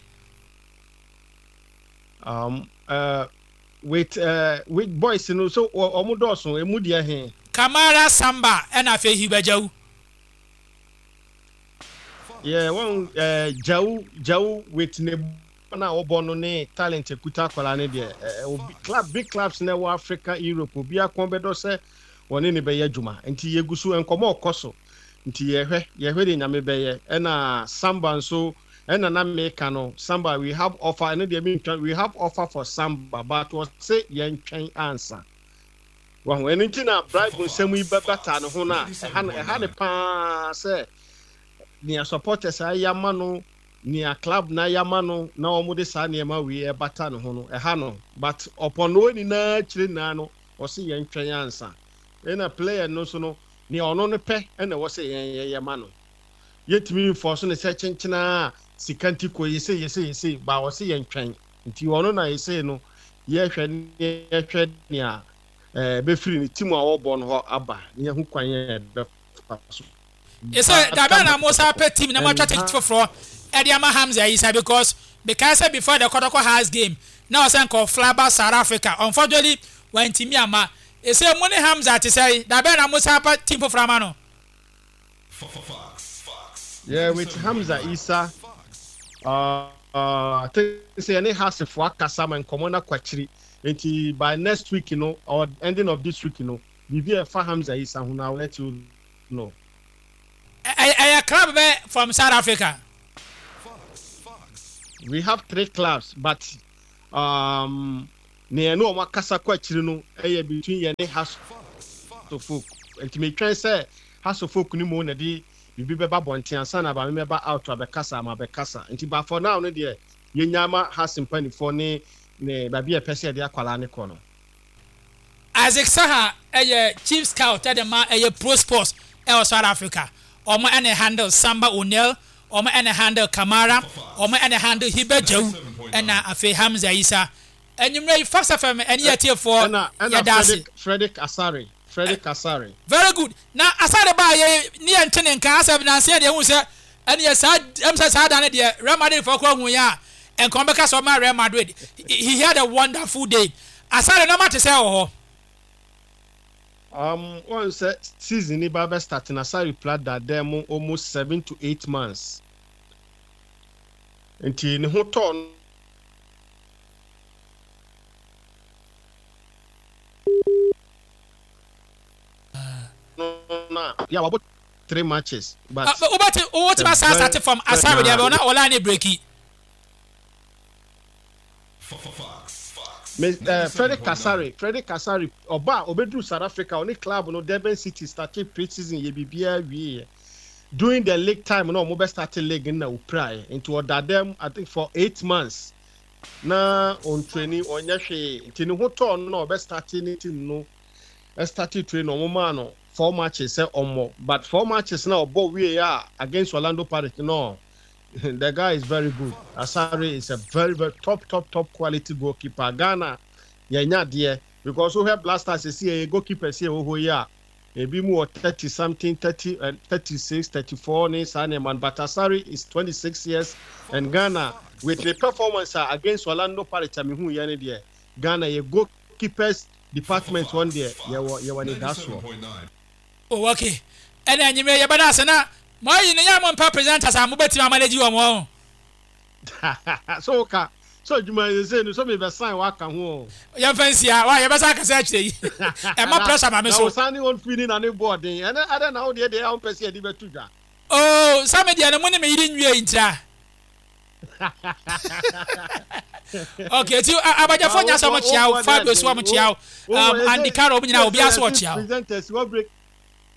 With boys no so ɔmo dɔɔso emu deɛ he? Kamara, Samba ɛna afei Hubert Jawu. Yeah, wɔn Jawu with ne na ɔbɔ no ne talent ekuta akwadaa ne deɛ obi club, big clubs na ɛwɔ Africa, Europe, obi akɔn bɛdɔ sɛ wɔne ne bɛyɛ adwuma nti yɛgu so nkɔmɔ ɔkɔ so nti yɛhwɛ de Nyame bɛyɛ. Ɛna Samba nso ɛna na meka no Samba, we have offer. Ɛno deɛ mentwa, we have offer for Samba but wɔse yɛntwɛn ansa wɔn ɛno nti na bribe nsɛm yi bɛbata ne ho no a ɛha no ɛha ne paa sɛ nea supporters ayɛ ama no, nea club na ayɛ ama no na wɔn de saa nneɛma wei ɛbata ne ho no ɛha no, but ɔpɔn no nyinaa akyire nyinaa no ɔse yɛn twɛn ansa. Ɛna player no nso no nea ɔno no pɛ ɛna ɛwɔ sɛ yɛn yɛyɛ ma no. Yɛtumi nfɔ so ne sɛ kyenkyenaa sika nti kɔ yɛsɛ yɛsɛ yɛsɛ ba ɔse yɛn twɛn nti ɔno na yɛsɛ no yɛhwɛ nea bɛfiri ne team a wɔbɔ no hɔ aba ne yɛho kwan yɛn bɛfa so. Ɛsɛ dabe na mo sa pɛ team na mo atwa ticket foforɔ ɛde ama Hamza Isa because because sɛ before the Kotoko Hearts game na ɔsɛ nkɔ fly South Africa, unfortunately wantumi ama. Ɛsɛ mo ne Hamza te sɛ dabe na mo sa pɛ team foforɔ ama no? Yeah, with Hamza Isa, I think sɛ yɛne Hasefo akasa ma nkɔmmɔ no akɔ akyiri nti by next week or ending of this week biribi a ɛfa Hamza Isa ho no, I will let you know. Ɛyɛ club bɛ from South Africa? We have three clubs, but Um, nea yɛne wɔn akasa kɔ akyiri no yɛ between yɛne Hearts of Oak. Nti metwɛn sɛ Hearts of Oak no mmom na ɛde biribi bɛba abɔnten ansa na maame mɛba out abɛkasa ama abɛkasa. Nti but for now no deɛ yɛnya ma Hearts mpanimfoɔ ne ne baabi a yɛpɛ sɛ yɛde akwadaa no kɔ no. Isaac Saha yɛ chief scout de ma ɛyɛ Pro Sports wɔ South Africa. Wɔn na ɛhandle Samba O'Neil, wɔn na ɛhandle Kamara, wɔn na ɛhandle Hiba Djawu ɛna afei Hamza Issa. Anwummerɛ yi Fox FM ɛne yɛn atiefoɔ Ɛna ɛna yɛda ase. Frederick Frederick Asare Frederick Asare. Very good. Na Asare baa yɛ ne yɛn nte ne nka asɛ nansa yi deɛ ehu sɛ ɛneɛ saa ɛm sɛ saa da no deɛ Real Madrid foɔ koraa hu yɛn a nka wɔn bɛka sɛ ɔma Real Madrid. He had a wonderful day. Asare nneɛma te sɛ wɔ hɔ. Um, wɔn sɛ season ni ba bɛ start na Asare pla da dɛm mu almost 7 to 8 months. Nti ne ho tɔɔ no na yeah wabɔ three matches but. Ah, wobɛte wotumi asan start from Asare deɛ bɛ na ɔla ne breaki. Me Frederick Asare, Frederick Asare ɔba a ɔbɛduru South Africa ɔne club no Durban City started pre-season yɛ biribiara wieɛ. During the league time na ɔmo bɛ start league no na ɔpiraeɛ nti ɔda dɛm I think for 8 months na ɔntraining ɔnyɛ hwee nti ne ho tɔɔ no na ɔbɛ start ne team no start train ɔmo maa no four matches sɛ ɔmmɔ, but four matches na ɔbɔ wie a against Orlando Pirates no, the guy is very good. Asare is a very very top top top quality goalkeeper. Ghana yɛnya deɛ because wohwɛ Black Stars esi yɛ goalkeeper si ɛwɔ hɔ yi a ebi mu wɔ 30 something, 30, 36, 34 ne saa nneɛma no, but Asare is 26 years and Ghana with the performance a against Orlando Pirates a mehu yɛ ne deɛ, Ghana yɛ goalkeepers department wɔn deɛ yɛwɔ ne da soɔ. Oh, okay. Ɛna enyimire yɛbɛda ase na mo ayi ne yɛ mo mpɛ presenters a mobɛtumi amanage wɔn wɔn. So ka so adwuma yi sɛ no so mi bɛ sign waka ho o. Yɛmfa nsia wa yɛbɛsa akasa akyerɛ yi ɛma pressure ma me na so. Wosan ne wɔn firi ni na ne bɔ ɔden ɛnɛ adɛ na wo deɛ a wɔn pɛ sɛ yɛde bɛto dwa. Oh, sɛ me deɛ no mo ne me yere nwie yi ntira. Okay, ti abadjafo nya sɛ ɔmo kyia wo, Fabio so ɔmo kyia wo, Andy Carroll ɔmo nyinaa obiara so ɔkyia wo. Presenters wɔ break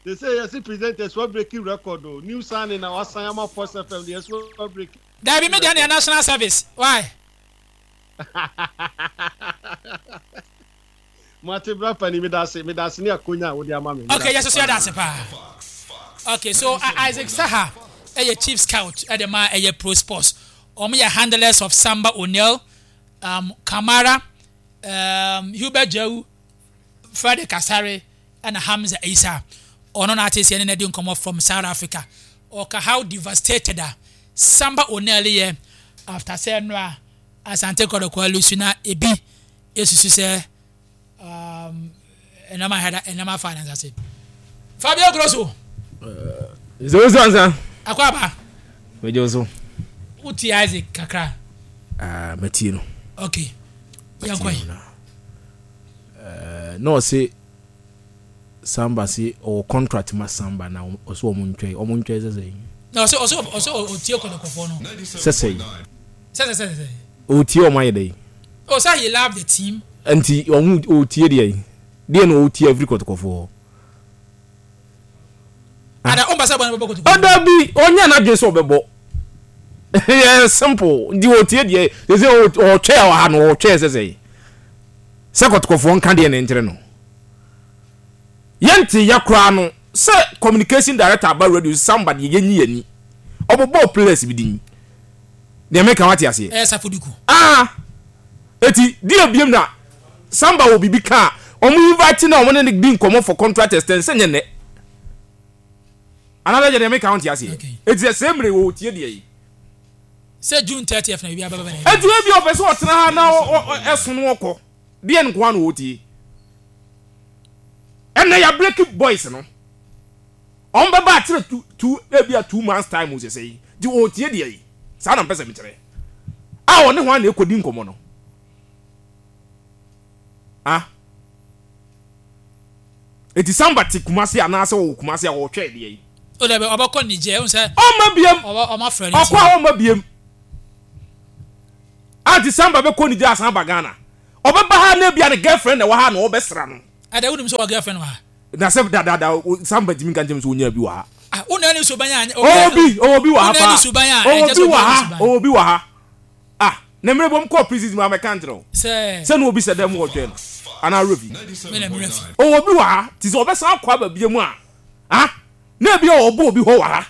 they say yɛsi presenters wɔ breaking record o, new signing na wasan ama Force FM deɛ so wɔ break. Dabi, me deɛ no yɛ national service. Why? Mate bra pani, medase, medase ne akonya a wode ama me. Okay, yɛsoso yɛda ase paa. Okay, so Isaac Saha ɛyɛ chief scout ɛde ma ɛyɛ Pro Sports. Wɔn yɛ handlers of Samba O'Neil, Kamara, Hubert Jewu, Frederick Asare ɛna Hamza Isa. Ɔno na ate sɛ ɛne na di nkɔmɔ from South Africa. Ɔka how devastated a Samba O'Neil yɛ after sɛ nnora Asante Kɔtɔkɔ alose na ebi esusu sɛ ɛnam ahɛda ɛnam afa ne nsa se. Fabio Grosso. Nse wo ansa. Akɔ aba. Megye wo so. Wotie Isaac kakra. Ah, matie no. Okay. Yɛnkɔ yi. Na ɔse Samba se ɔwɔ contract ma Samba na ɔse ɔmo ntwɛn, ɔmo ntwɛn sɛ sɛn? Na ɔse ɔtie kɔtɔkɔfoɔ no. Sɛ sɛn? Sɛ. Ɔtie ɔmo ayɛ dɛn? Oh, sɛ he love the team. Nti ɔmo ɔtie deɛ deɛ na ɔtie afiri kɔtɔkɔfoɔ hɔ? Ada ɔmba sɛ bɔ ne bɛbɔ kɔtɔkɔ. Ɔda bi ɔnyɛ n'adwene sɛ ɔbɛbɔ. Yɛ simple nti ɔtie deɛ sɛ ɔtwɛ wɔ ha no, ɔtwɛ sɛ kɔtɔkɔfoɔ nka deɛ ne nkyerɛ no. Yɛnte yɛ koraa no sɛ communication director aba radio Samba deɛ yɛnyi yɛni ɔbɔbɔɔ players bi din deɛ meka wate aseɛ. Ɛyɛ Safoduku. Ah, eti deɛ biem na Samba wɔ biribi ka a ɔmo invite na ɔmo ne ne di nkɔmɔ for contract extension sɛ nyɛ nnɛ anaasɛ deɛ meka wonte aseɛ. Eti sɛ sɛ mmere wɔ tie deɛ yi sɛ June 30th na biribi abɛbɛ na eti ebi ɔpɛ sɛ ɔtena ha na ɛso no ɔkɔ deɛ nkoa na ɔtie ɛnna yɛ break boys no ɔmo bɛba akyerɛ two two ebi a 2 months time o sɛsɛ yi di ɔtie deɛ yi saa na mpɛ sɛ mekyerɛ a ɔne ho ana ekɔdi nkɔmɔ no. Ah, eti Samba te Kumase anaasɛ ɔwɔ Kumase a ɔretwɛn deɛ yi. O dabi, ɔbɛkɔ Niger ɛhu sɛ. Ɔmma biem. Ɔbɛ ɔma frɛ no. Ɔkɔ a ɔmma biem. Ati Samba bɛkɔ Niger asan aba Ghana. Ɔbɛba ha na ebia ne girlfriend na ɛwɔ ha na ɔbɛsra no. Ada wonim sɛ ɔwɔ girlfriend wɔ ha? Na sɛ dadaada Samba ntumi nka nkyerɛ me sɛ ɔnyaa bi wɔ ha. Ah, wo na ne suban a. Ɔwɔ bi, ɔwɔ bi wɔ ha paa. Ɔwɔ bi wɔ ha, ɔwɔ bi wɔ ha. Ah, na mmerɛ bom kɔɔ prison mu a mɛka nkyerɛ wo. Sɛ. Sɛ na obi sɛ dɛm wɔtwɛn no. Anaa werɛ fi. Me na merɛ fi. Ɔwɔ bi wɔ ha, ti sɛ ɔbɛsan akɔ aba bia mu a, ah, na ebia ɔbɔ obi hɔ wɔ ha.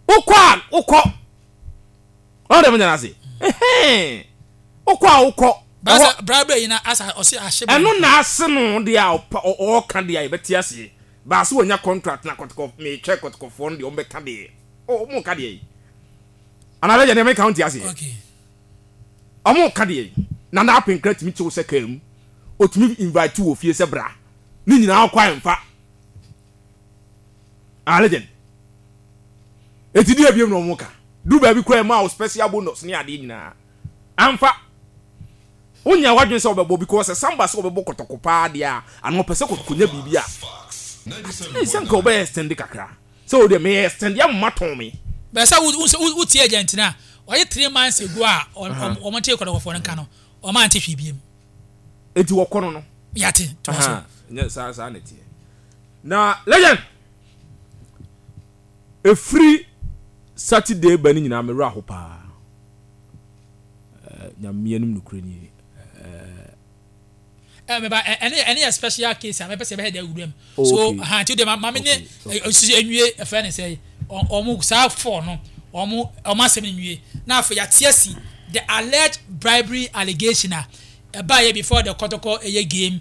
Wokɔ a, wokɔ. Ɔn dɛ menya no ase. Ɛhɛn. Wokɔ a wokɔ. Basa bra bra yi na asa ɔse ahye bra. Ɛno na ase no deɛ a ɔpɛ ɔɔka deɛ a yɛbɛte aseɛ. Baase wanya contract na kɔtɔkɔ meetwɛ kɔtɔkɔfoɔ no deɛ ɔmo bɛka deɛ. Oh ɔmo ka deɛ yi. Anaa bɛgya deɛ meka wonte aseɛ. Okay. Ɔmo ka deɛ yi. Nana Apenkra tumi kye wo sɛ kaa mu. Otumi invite wo wɔ fie sɛ bra. Ne nyinaa wokɔ a ɛmfa. Ah legend. Eti deɛ biem na ɔmo ka. Duru baabi koraa ɛmaa wo special bonus ne adeɛ nyinaa. Amfa. Wonya w'adwene sɛ wobɛbɔ because sɛ Samba sɛ ɔbɛbɔ kɔtɔkɔ paa deɛ a anaa ɔpɛ sɛ kɔtɔkɔ nya biribi a at least sɛ nka ɔbɛyɛ extend kakra. Sɛ o deɛ meyɛ extend ama matɔn me. Bɛyɛ sɛ wo wo tie agent no a ɔyɛ 3 months ago a wɔn te kɔtɔkɔfoɔ no nka no wɔn ante hwee biem. Eti wɔkɔ no no. Yate toa so. Nyɛ saa saa na ɛteɛ. Na legend. Ɛfiri Saturday ba no nyinaa me werɛ aho paa. Eh, Nyame anim nokorɛ nie. Eh. Eh, meba ɛne ɛne yɛ special case a mɛpɛ sɛ ɛbɛyɛ dɛ awura mu. Oh, so okay. Ha nti deɛ ma me ne sisi enwie ɛfɛ ne sɛ ɔmo saa fɔ no ɔmo asɛm nwie na afei yɛate asi the alleged bribery allegation a ɛbaeɛ before the kɔtɔkɔ ɛyɛ game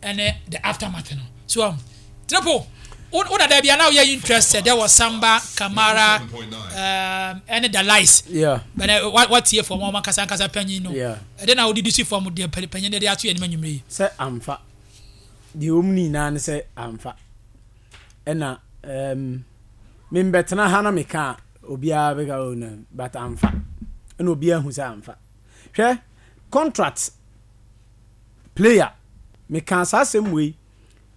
ɛne the aftermath no so triple wo wo dada bia na woyɛ interested there was Samba Kamara ɛne the lies yeah bɛnɛ watie fam wɔn ankasa ankasa panyin no yeah ɛde na wodidi si fam deɛ panyin de ato yɛn anim anwummerɛ yi sɛ amfa deɛ wɔm no nyinaa ne sɛ amfa ɛna um, membɛtena ha na meka a obiara bɛka oh, no, but amfa ɛna obiara hu sɛ amfa hwɛ contract player mekaa saa asɛm wei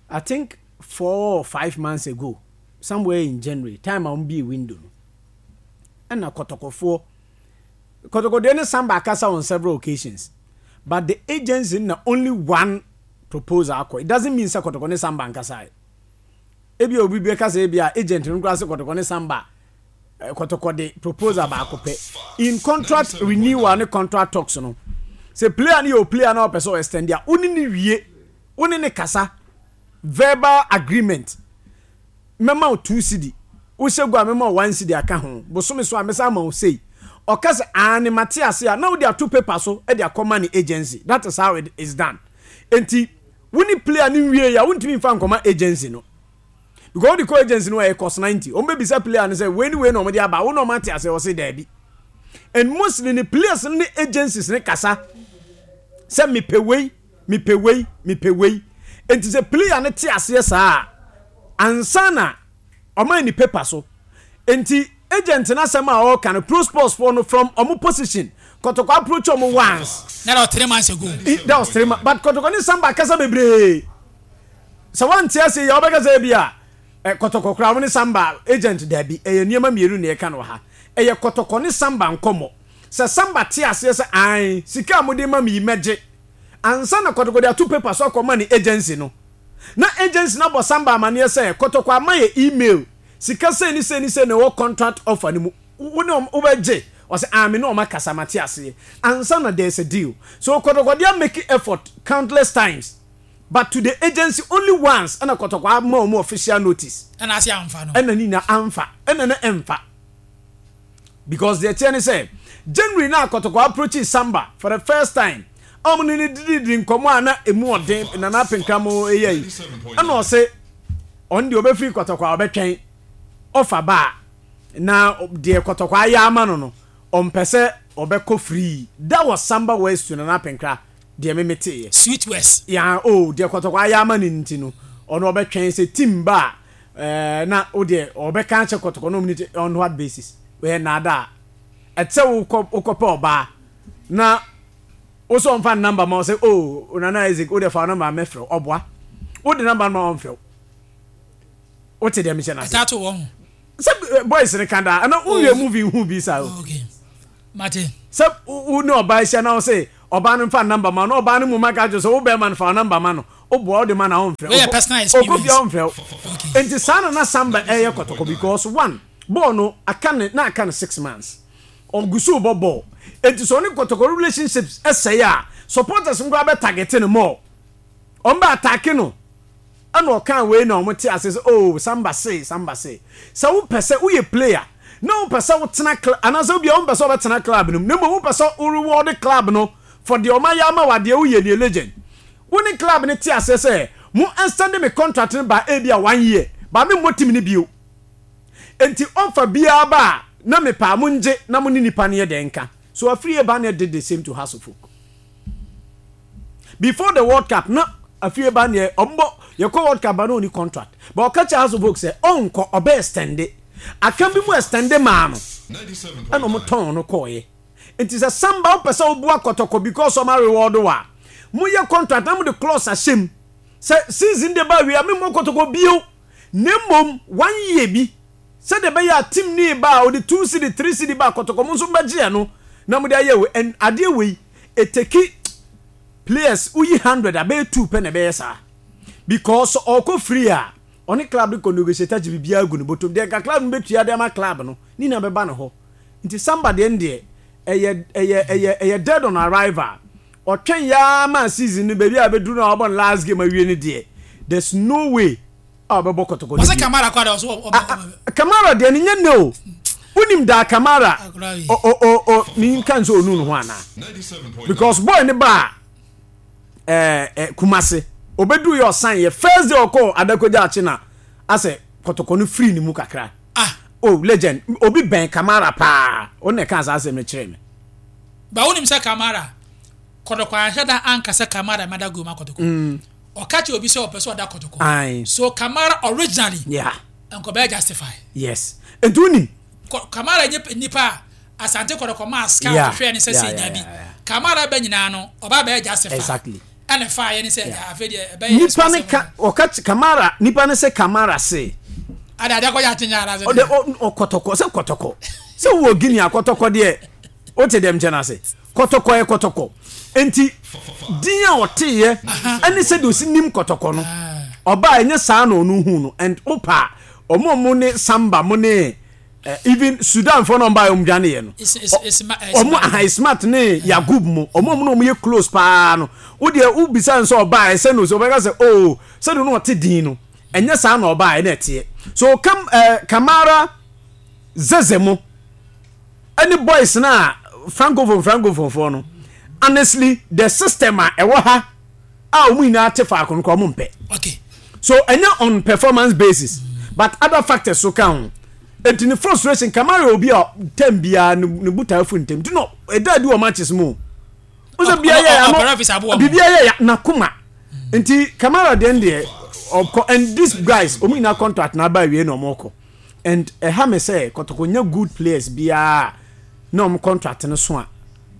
I think 4 or 5 months ago, somewhere in January time a wɔn bie window no, ɛna kɔtɔkɔfoɔ kɔtɔkɔdeɛ ne Samba akasa on several occasions, but the agency na only one proposal akɔ. It doesn't mean sɛ kɔtɔkɔ ne Samba nkasa yɛ. Ebi a obi bɛka sɛ ebi a agent no koraa sɛ kɔtɔkɔ ne Samba kɔtɔkɔ de proposal baako pɛ in contract renewal ne contract talks no. Sɛ player no yɛ o player na ɔpɛ sɛ ɔ extend a, wo ne ne wie, wo ne ne kasa verbal agreement, mɛma wo 2 cedi, wohyɛ gu a mɛma wo 1 cedi aka ho, bosome so a mɛsa ama wo sei. Ɔka sɛ aane mate ase a, na wode ato paper so de akɔma ne agency. That is how it is done. Enti wo ne player no nwie a, wontumi mfa nkɔma agency no because wode kɔ agency no ɛyɛ cost 90. Wɔn bɛbisa player no sɛ wei ne wei na wɔde aba, wo na wɔn ate ase, ɔse daabi. And mostly ne players no ne agencies ne kasa sɛ mepɛ wei, mepɛ wei, mepɛ wei. Enti sɛ player no te aseɛ saa a, ansa na ɔma ni paper so. Enti agent no asɛm a ɔreka no, Pro Sports foɔ no from ɔmo position, Kɔtɔkɔ approach ɔmo once. That was 3 months ago. That was 3 months, but Kɔtɔkɔ ne Samba akasa bebree. Sɛ wante ase yɛ ɔbɛka sɛ ebi a Kɔtɔkɔ koraa ɔmo ne Samba agent daabi. Ɛyɛ nneɛma mmienu na yɛka no wɔ ha. Ɛyɛ Kɔtɔkɔ ne Samba nkɔmmɔ. Sɛ Samba te aseɛ sɛ ae, sika a mode ma me yi mɛgye, ansa na Kɔtɔkɔ de ato paper so akɔma ne agency no, na agency no abɔ Samba amaneɛ sɛ Kɔtɔkɔ ama yɛ email, sika sei ne sei ne sei na ɛwɔ contract offer no mu, wo ne wɔn wobɛgye? Ɔsɛ ae, me ne wɔn akasa, mate aseɛ, ansa na there is a deal. So Kɔtɔkɔ de amake effort countless times, but to the agency only once ɛna Kɔtɔkɔ ama wɔn official notice. Ɛna ase amfa no. Ɛna ne nyinaa amfa, ɛna na ɛmfa. Because deɛ ɛteɛ ne sɛ, January na Kɔtɔkɔ approach Samba for the first time a wɔn ne no dididi nkɔmmɔ a na emu ɔden, Nana Apenkram yɛ yi, ɛna ɔse ɔno deɛ ɔbɛfiri Kɔtɔkɔ a ɔbɛtwɛn ɔfa ba a na deɛ Kɔtɔkɔ ayɛ ama no no ɔmpɛ sɛ ɔbɛkɔ free. That was Samba words to Nana Apenkra, deɛ me meteeɛ. Sweet words. Yeah, oh, deɛ Kɔtɔkɔ ayɛ ama no nti no, ɔno ɔbɛtwɛn sɛ team ba a, na wo deɛ ɔbɛka akyɛ Kɔtɔkɔ na ɔmo ne on what basis? Wɔyɛ nnaadaa. Ɛte sɛ wokɔ wokɔpɛ ɔbaa na wo sɛ ɔmfa ne number ma wo sɛ oh Nana Isaac wo deɛ fa wo number mɛfrɛ wo, ɔboa. Wode number no ma ɔmfrɛ wo. Wote deɛ mehyɛ no ase? Ɛtaa to wɔn ho. Sɛ boys no ka daa, ɛna wonhwɛ movie nhu bi saa o. Oh, okay. Mate. Sɛ wo ne ɔbaa ahyia na wo se ɔbaa no mfa number ma wo na ɔbaa no mmom aka akyerɛ wo sɛ wo bɛrima no fa wo number ma no, wo boa wode ma no a ɔmfrɛ Wei yɛ personal experience. Ɔkɔ fie a ɔmfrɛ wo. Enti saa na na Samba ɛyɛ kɔtɔkɔ because one, bɔɔl no aka ne na aka no 6 months. Ɔgu so rebɔ bɔɔl. Enti sɛ ɔne kɔtɔkɔ relationships sɛe a, supporters no koraa bɛ target no more. Wɔn bɛ attack no. Ɛna ɔkaa wei na wɔn te ase sɛ oh Samba se, Samba se. Sɛ wo pɛ sɛ woyɛ player na wo pɛ sɛ wo tena club anaasɛ obi a wo mpɛ sɛ ɔbɛtena club no mu na mmom wo pɛ sɛ wo reward club no for deɛ wɔn ayɛ ama wo adeɛ woyɛ nie legend. Wo ne club no te aseɛ sɛ mo extend me contract no by ebi a one year but me mmɔ team no bio. Enti offer biara ba a na mepɛ a mo ngye na mo ne nipa no yɛ dɛn nka. So Afriyie Barnieh did the same to Hearts of Oak. Before the world cup na afie ba neɛ ɔmbɔ yɛkɔ world cup ba na ɔni contract but ɔka kyerɛ House of Oak sɛ ɔnkɔ ɔbɛ extende aka bi mu extende maa no ɛna ɔmo tɔn no kɔɔyɛ nti sɛ Samba wopɛ sɛ woboa kɔtɔkɔ because ɔma reward wo a moyɛ contract na mode clause ahyɛ mu sɛ season de ba awie a memmɔ kɔtɔkɔ bio na mmom one year bi Sɛdeɛ ɛbɛyɛ a team no reba a ɔde 2 cedi 3 cedi ba a kɔtɔkɔ mo nso mobɛgye ɛno na mode ayɛ wei and adeɛ wei ɛteki players woyi 100 a bɛyɛ 2 pɛ na ɛbɛyɛ saa because sɛ ɔkɔ free a ɔne club no kɔ negotiate agye biribiara agu ne bɔtɔm deɛ nka club no bɛtua de ama club no ne nyinaa bɛba ne hɔ nti Samba deɛ no deɛ ɛyɛ ɛyɛ ɛyɛ ɛyɛ dead on arrival ɔtwɛn yaa ma season no baabi a bɛduru no a ɔbɔ no last game awie no deɛ there's no way a ɔbɛbɔ kɔtɔkɔ no Wɔsɛ bio. Kamara kɔ ada ɔso ɔ- ɔ- Ah, ah, Kamara deɛ no nyɛ nnɛ o. Wonim daa Kamara Akora yi. o o o o menka nsɛ ɔnu ne ho anaa? Because boy ne baa ɛɛ ɛ Kumase obɛduru yɛ ɔsan yɛ first day ɔkɔɔ Adakogya akye na asɛ kɔtɔkɔ no firi ne mu kakra. Ah, Oh legend obi bɛn Kamara paa ɔno na ɛkaa saa asɛm no kyerɛɛ me. ba wonim sɛ Kamara kɔtɔkɔ anhyɛ da anka sɛ Kamara mɛda gol ma kɔtɔkɔ. Ɔka kyerɛ obi sɛ ɔpɛ sɛ ɔda kɔtɔkɔ. Aye. So Kamara originally Yeah. nkɔbɛyɛ justify. Yes. Nti wonim. Kamara nye nipa a Asante kɔtɔkɔ maa scout hwɛɛ ne sɛ sei dabi. Kamara bɛ nyinaa no ɔba bɛyɛ justify. Exactly. Ɛna ɛfaa yɛ ne sɛ afei deɛ ɛbɛyɛ Nipa ne ka ɔka Kamara nipa ne sɛ Kamara se. Ade ade akɔyɛ atenya ara sɛ. Ɔde ɔkɔtɔkɔ sɛ kɔtɔkɔ sɛ wɔ Guinea kɔtɔkɔ deɛ wote dɛm kyɛn ase. Kɔtɔkɔ yɛ kɔtɔkɔ. Enti din a ɔteeɛ ɛne sɛdeɛ ɔsi nim kɔtɔkɔ no, ɔbaa ɛnyɛ saa na ɔno huu no. And wopa a, ɔmo a ɔmo ne Samba mo ne eh, even Sudanfoɔ na ɔmo baeɛ ɔmo dwaneeɛ no, ɔmo aha Ismat ne Yagub mo, ɔmo a ɔmo ne ɔmo yɛ close paa no, wo deɛ wobisa no sɛ ɔbaa ɛsɛ no sɛ ɔbɛka sɛ oh sɛdeɛ ɔno ɔte din no, ɛnyɛ saa na ɔbaa ɛna ɛteɛ. So kam eh, Kamara Zeze mo. Ɛne boys no a francophone francophone foɔ no honestly the system a ɛwɔ ha a wɔn nyinaa te faako no koraa wɔn mpɛ. Okay. So ɛnyɛ on performance basis but other factors so ka ho. Eti ne frustration Kamara yɛ obi a term biara ne ne bo taa fu ntɛm nti no ɛda adi wɔ matches mu. Wosɛ bia yɛ ano biribi ayɛ ya n'akoma nti Kamara deɛ deɛ ɔkɔ and these guys wɔn nyinaa contract na aba awie na wɔn kɔ. And ɛha me sɛ kɔtɔkɔ nya good players biaa na ɔmo contract no so a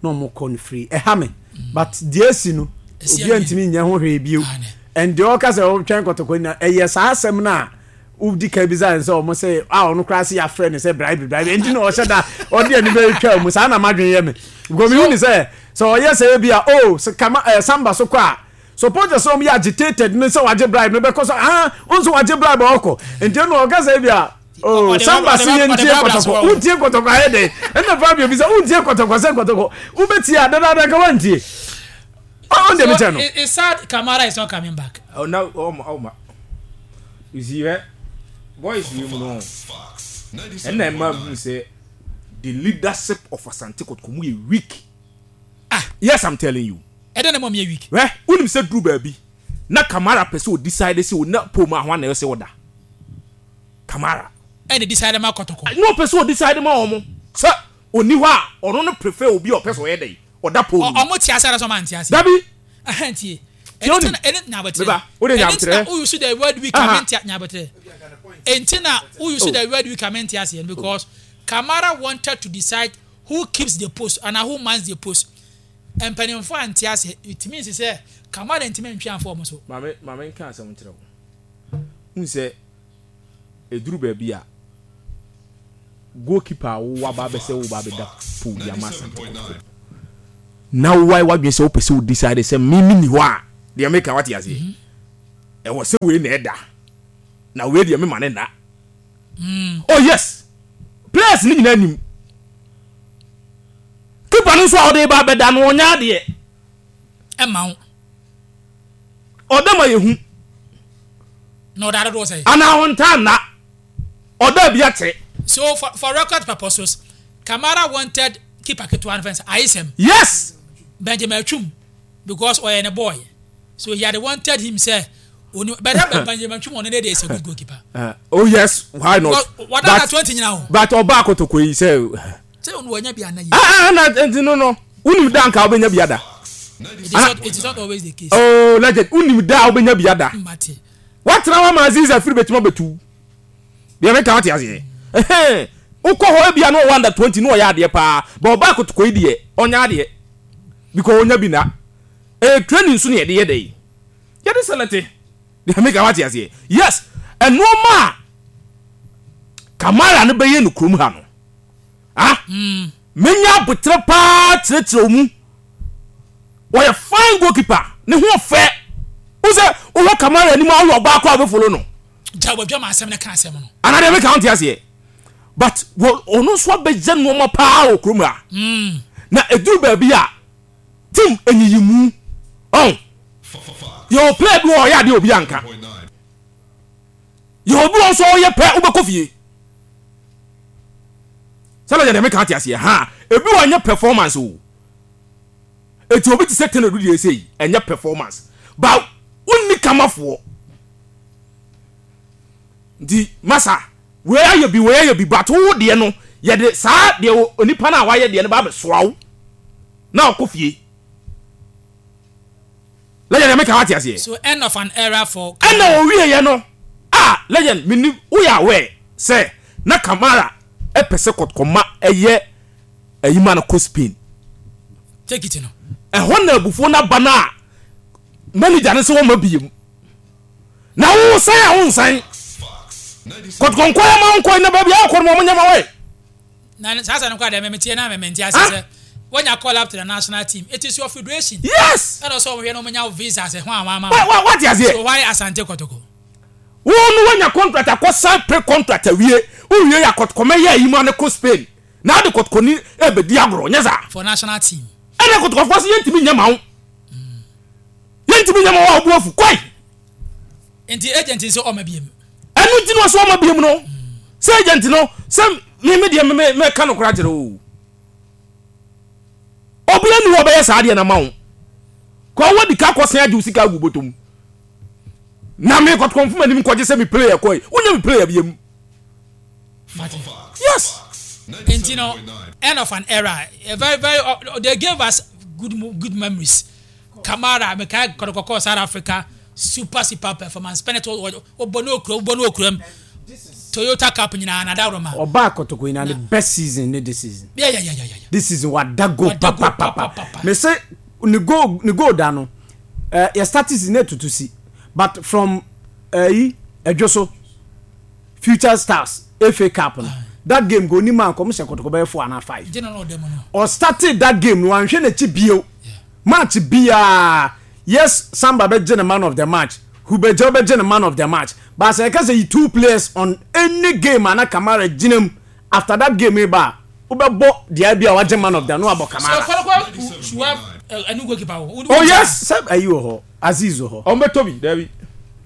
na ɔmo kɔ no free ɛha me but deɛ asi no obiaa ntumi nyɛ ho hwee bio and deɛ ɔka sɛ ɔtwɛn kɔtɔkɔ nyina ɛyɛ saa asɛm no a wodi kan bisa no sɛ ɔmo sɛ a ɔno koraa se yɛafrɛ no sɛ bribe bribe nti na ɔhyɛ da ɔde ani bɛtwa mu saa na madwene yɛ me because mehu ne sɛ sɛ ɔyɛ sɛ ebi a oh sɛ kama eh, samba so kɔ a Supporters a wɔyɛ agitated no sɛ wagye bribe no bɛkɔ so ah nso wagye bribe a ɔkɔ nti ɛna ɔka sɛ ebi a oh samba se yɛn tie kɔtɔkɔ wontie kɔtɔkɔ ayɛ dɛn ɛna Fabio bi sɛ wontie kɔtɔkɔ sɛ kɔtɔkɔ wobɛtie a dadaada nka wantie ɔn deɛ mekyɛ no. It's sad Kamara is not coming back. Oh, no, oh, my, oh, my. You see, eh? Boys, you know. And then, man, who say the leadership of Asante Kotoko yɛ weak. Ah. Yes, I'm telling you. Ɛdɛn na ɛma ɔmo yɛ weak? Hwɛ, wonim sɛ duru baabi na Kamara pɛ sɛ ɔdecide sɛ ɔna pole mu a hwan na ɛwɔ sɛ ɔda? Kamara. Ɛna decide ma kɔtɔkɔ. Na ɔpɛ sɛ ɔdecide ma wɔn sɛ ɔnni hɔ a ɔno no prefer obi a ɔpɛ sɛ ɔyɛ dɛn? Ɔda pole no mu. Ɔmo te ase anaasɛ ɔmo ante ase? Dabi. Ɛhɛn tie. Tie Ɛno onim. nti na ɛno nyabotrɛ. Meba, wode Ɛno nti na nyabotrɛ. wo use the word weak a Aha. mente nyabotrɛ. Ɛnti na wo use Oh. the word weak a mente aseɛ no because Kamara wanted to decide who keeps the post anaa who mans the post. Mpanimfoɔ ante aseɛ, it means sɛ Kamara ntumi antwi amfa wɔn so. Maame, ma menka asɛm nkyerɛ wo. Wohu sɛ ɛduru baabi a, goalkeeper a wowɔ aba abɛsɛ wo ba abɛda. pole de ama Asante Kotoko na woayɛ w'adwene sɛ wopɛ sɛ wo decide sɛ me menni hɔ a, deɛ meka wate aseɛ? Ɛwɔ sɛ wei na ɛda na wei deɛ mema ne nna. Oh yes, players no nyinaa nim. Keeper no nso a ɔde ba abɛda no ɔnyɛ adeɛ. Ɛma wo. Ɔda ma yɛhu. Na ɔda dodoɔ sɛn? Anaa ɔntaa nna. Ɔda bi akyɛ. So for record purposes, Kamara wanted keeper ketewa no fɛn sɛ Ayesɛm. Yes! Benjamin Atwum because ɔyɛ ne boy. So he had wanted him sɛ oni but that Benjamin Atwum ɔno ne de is a good goalkeeper. Oh yes, why not? Wada na 20 nyina ho. But ɔba akotoko yi sɛ. Sɛ ɔno wanya bi ana yi. Ah ah na nti no no. Wonim da nka wobɛnya bi ada. It is not always the case. Oh legend, wonim da a wobɛnya bi ada. Mate. Watena hɔ ama Aziz afiri bɛtumi abɛtu. Deɛ meka wate aseɛ. Ɛhɛn. Wokɔ hɔ ebia na ɔwɔ under 20 na ɔyɛ adeɛ paa. But ɔba akotoko yi deɛ ɔnyɛ adeɛ. Because ɔnya bi na. Ɛyɛ training nso na yɛde yɛ dɛn? Yɛde select. Deɛ meka wate aseɛ. Yes, nnoɔma a Kamara no bɛyɛ no kurom ha no, ah, menya aboterɛ paa kyerɛkyerɛ wo mu. Ɔyɛ fine goalkeeper, ne ho ɔfɛ. Wo sɛ wohwɛ Kamara anim a woyɛ ɔbaa koraa wobɛfollow no. Gya wadwama asɛm no ka asɛm no. Anaa deɛ meka wonte aseɛ. But ɔno nso abɛyɛ nnoɔma paa wɔ kurom ha. Na ɛduru baabi a team nyiyimu ɔn yɛwɔ player bi wɔ ɔyɛ adeɛ obi anka yɛwɔ bi wɔ nso ɔyɛ pɛ wobɛkɔ fie sɛlɛ yɛ deɛ meka ate aseɛ ha ebi wɔ nyɛ performance o eti obi te sɛ tɛnɛ du deɛ ɛsɛ yi ɛnyɛ performance ba wonni kamafoɔ nti masa Wei ayɛ bi, wei ayɛ bi, but wo deɛ no, yɛde saa deɛ onipa no a wayɛ deɛ no ba abɛsoa wo na ɔkɔ fie. Legend, deɛ meka wate aseɛ? So end of an era for Ɛna Kamara. ɔwieɛ no, ah Legend, menim, woyɛ aware sɛ na Kamara pɛ sɛ kɔtɔkɔma ɛyɛ ayi ma no kɔ Spain. Take it no. Ɛhɔ na abufuo no aba no a manager no sɛ wɔmma biem. Na wo san a wo nsan. Kɔtɔkɔnkɔ yɛ ma wo nkɔ na baabi a wokɔ no ma wɔnyɛ ma wɔyɛ. Na saa asɛm no koraa deɛ me meteɛ na me mente ase sɛ wonya call up to the national team it is your federation. Yes. Ɛna ɔsɛ wɔhwɛ na wɔnya wo visa sɛ ho a wɔama wo. Wa wate aseɛ. So why Asante Kɔtɔkɔ? Wo no woanya contract akɔ sign pre contract awie wowie yɛ akɔtɔkɔ mɛyɛ ayi mu ane kɔ Spain na ade kɔtɔkɔ ni ɛbɛdi agorɔ nyɛ saa. For national team. Ɛna kɔtɔkɔfoɔ sɛ yɛntumi nyɛ ma wo. Yɛntumi nyɛ ma wo a wo bo afu kɔe. Nti agent nso ɔma biem. Ɛno nti na ɔsɛ ɔma biem no. Sɛ agent no sɛ me me deɛ me me ka no koraa kyerɛ o. Obi ani hɔ ɔbɛyɛ saa deɛ na ma wo. Kɔ wɔ di ka kɔ sɛn agye wo sika agu bɔtɔ mu. Na me kɔtɔkɔ mfom anim kɔgye sɛ me player kɔe. Wonyɛ me player biem. Yes. Nti no end of an era. Very very they gave us good good memories. Kamara mekae kɔtɔkɔ kɔɔ South Africa super super performance penalty wobɔ ne okura wobɔ ne okura mu Toyota Cup nyinaa na dawuro ma. Ɔbaa kɔtɔkɔ nyinaa ne best season ne this season. Yeah yeah yeah yeah. This season wada goal papapapa. Me se ne goal ne goal da no eh, yɛ start season na etutu si but from ɛyi eh, ɛdwo so future stars FA Cup no that game go onim a nkɔm hyɛ kɔtɔkɔ bɛyɛ 4 anaa 5. Ɔ started that game no wanhwɛ n'akyi bio. Match biaa yes Samba bɛgye no man of the match, Hubegye bɛgye no man of the match but sɛ yɛka sɛ yi two players on any game a na Kamara gyina mu after that game yi ba a wobɛbɔ deɛ bi a wagye man of the na wabɔ Kamara. So Kɔlɔkɔ should have a new goalkeeper o. Oh yes sɛ ayi wɔ hɔ Aziz wɔ hɔ. Ɔmo bɛtɔ bi dabi.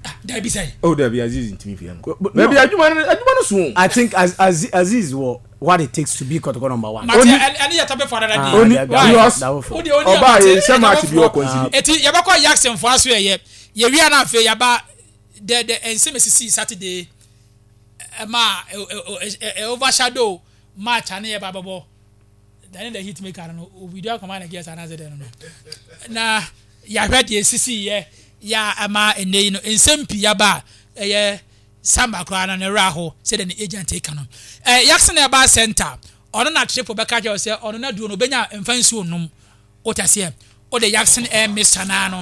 Ah dabi sɛn. Oh dabi Aziz ntumi fia no. Dabi adwuma no adwuma no so o. I think Aziz wɔ what it takes to be kɔtɔkɔ number one. Mate ɛne yɛ topic for another day. Oni because ɔbaa yɛ nhyɛ match bi ɔkɔnsidi. Eti yɛbɛkɔ Jackson fo aso ɛyɛ yɛwia na afei yaba the the nsɛm esisi Saturday ɛma ɛ overshadow match ane yɛba bɛbɔ dane the hit maker no obidu akɔma na gears anaasɛ dɛn no na yɛahwɛ deɛ esisi yɛ yɛ ɛma ɛnɛ yi no nsɛm pii yaba ɛyɛ. Samba koraa no ne werɛ ahow sɛdeɛ ne agent reka no. Eh, Jackson Herbal Centre, ɔno na Triple bɛka akyerɛ wo sɛ ɔno n'aduro no ɔbɛnya mfa nsuo nnom. Wote aseɛ? Wode Yaksen air mixture no ara no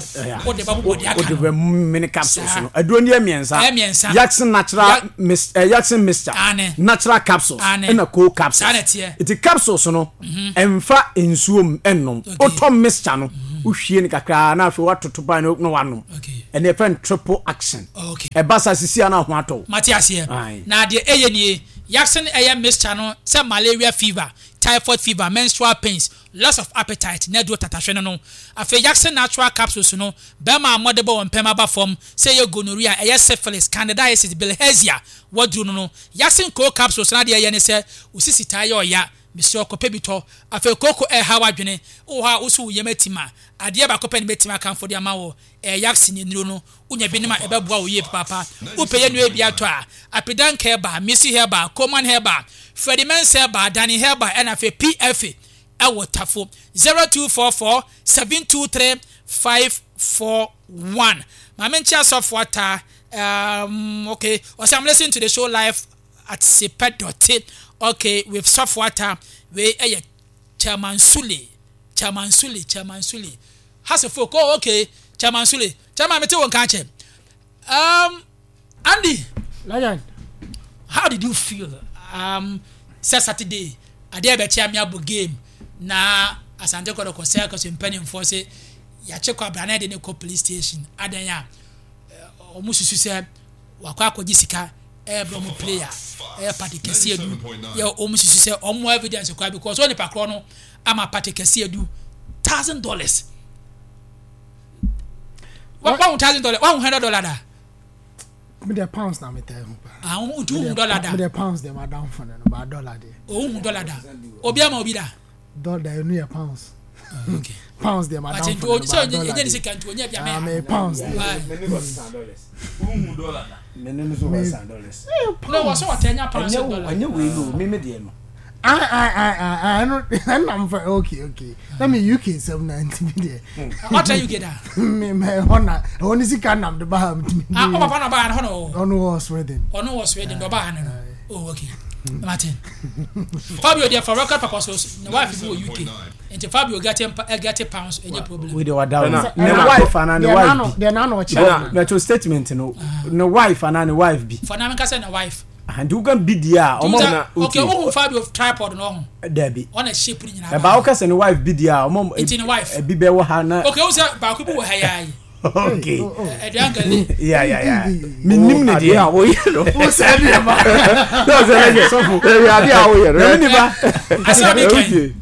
wode bɛbobɔ deɛ aka no. Wode bɛmene capsules no. Aduro no yɛ mmiɛnsa. Ɛyɛ mmiɛnsa. Yaksen natural mix eh, Yaksen mixture. Aane. Natural capsules. Aane. Ɛna cold capsules. Saa na ɛteɛ. Nti capsules no ɛnfa nsuo nnom. Okay. Wotɔ mixture no wohwie no kakra na afei woatoto pan no na wanom. Okay. Ɛna yɛfrɛ no triple action. Okay. Ɛba saa sisi a na ho atɔ wo. Mate aseɛ. Ae. Na deɛ ɛyɛ nie, Yaksen ɛyɛ mixture no sɛ malaria fever, typhoid fever, menstrual pains, Loss of appetite, n'aduro tatahwe no no. Afei Yaksen Natural Capsules no, bɛrima a mmɔde bɔ wɔn mpam aba fam, sɛ ɛyɛ gonorrhea, ɛyɛ syphilis, candidiasis, bilharzia, waduro no no. Yaksen Cold Capsules no adeɛ ɛyɛ ne sɛ, wo sisi taa yɛ ɔya, mesrɛ wo kɔpɛ bi tɔ. Afei kooko ɛreha w'adwene, wowɔ hɔ a wo so wo yam atim a, adeɛ baako pɛ na mɛtumi akamfo de ama wo, ɛyɛ Yaksen nnuro no, wonya bi nom a ɛbɛboa wo yie papaapa. Wopɛ yɛn nnuro yi bi atɔ a, Apidank Herbal, Missy Herbal, Coleman Herbal, Freddie Mensah Herbal, Danny Herbal ɛna afei PFA ɛwɔ Tafo. 0244 723 541. Maame Nkyea Sɔfo Ataa, um, okay, ɔsɛ I'm listening to the show live at Sepɛ Dɔte, okay, with Sɔfo Ataa, wei ɛyɛ Chairman Sule, Chairman Sule, Chairman Sule. Hasefok, oh okay, Chairman Sule, Chairman mete wo nka akyɛ. Um, Andy. Legend. How did you feel? Um, sɛ Saturday, adeɛ bɛkyɛ ame abɔ game na Asante Kɔtɔkɔ sɛ akɔsɛ mpanimfoɔ sɛ yɛakye kɔ abira na yɛde ne kɔ police station adan a wɔn susu sɛ wakɔ akɔgye sika ɛyɛ bɛ wɔn player ɛyɛ party kɛseɛ du yɛ wɔn susu sɛ wɔn evidence kora because wɔn nipa korɔ no ama party kɛseɛ du $1,000. Wahu $1,000 wahu $100 da. Mi de pounds na mi ta ehu pa. Ah, nti wohu dollar da. Mi de pounds de ma dan fo no ba dollar de. O wohu dollar da. Obi ama obi da. Dollar enu yɛ pounds. Ah, okay. Pounds de ma dan fo no ba dollar de. Enye ni sika nti onye bia me. Ah, me pounds de. Wohu dollar da. Me no so wɔ san dollars. No, wɔ so wɔtɛ pounds dollar. Ɛnyɛ wei no, me me deɛ no. Ah ah ah ah ah no ɛna mfa okay okay na me UK sɛm na nti mi deɛ. Ɔtɛ UK da. Me mɛ ɛhɔ na ɛhɔ ne sika nam de ba ha mi. Ah ɔ papa na ɔba ha no hɔ na ɔwɔ. Ɔno wɔ Sweden. Ɔno wɔ Sweden dɔ ɔba ha no no. Oh okay. Martin. Fabio deɛ for record purposes ne wife bi wɔ UK nti Fabio get get pounds ɛnyɛ problem. Wei de wada o. Ne wife ana ne wife bi. Deɛ n'ano ɔkyerɛ. Mɛto statement no ne wife ana ne wife bi. For na mi ka sɛ ne wife. Nti woka bi deɛ a ɔmo na okay wohu Fabio tripod no ɔho dabi ɔna shape no nyinaa ɛba woka sɛ ne wife bi deɛ a ɔmo nti ne wife ebi bɛ wɔ ha na okay wohu sɛ baako bi wɔ ha yaa yi okay ɛduan gale ya ya ya menim ne deɛ adeɛ a woyɛ no wo sɛ deɛ ma sɛ sɛ lɛgɛ sɔfo ɛyɛ adeɛ a woyɛ no na me nipa asɛ ɔde kɛn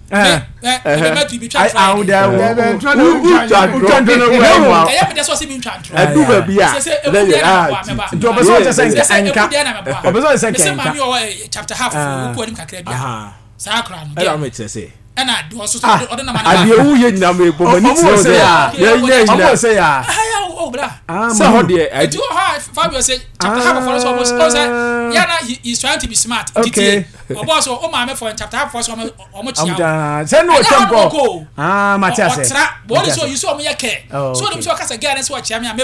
ɛdu baabi a lɛyɛ a ti nti ɔpɛ sɛ ɔkyɛ sɛ nka nka ɔpɛ sɛ ɔkyɛ sɛ nka nka ɛna mi kyerɛ sɛ adeɛ wo yɛ nyina mi bɔ mani kyerɛ sɛ yɛ nyɛ nyina ɔmo sɛ ya sɛ hɔ deɛ ɛdi wɔ hɔ a Fabio sɛ chapter half of ɔno sɛ ɔmo sɛ yana he is trying to be smart titi ɔbɔ so o maame fɔ chapter half fɔ so ɔmo ɔmo kyia wo sɛ ne ɔtwam kɔ ah mate ase ɔtra bɔ ɔde so yi so ɔmo yɛ kɛ so ɔde so ɔkasa gɛɛ ne sɛ ɔkyia me a me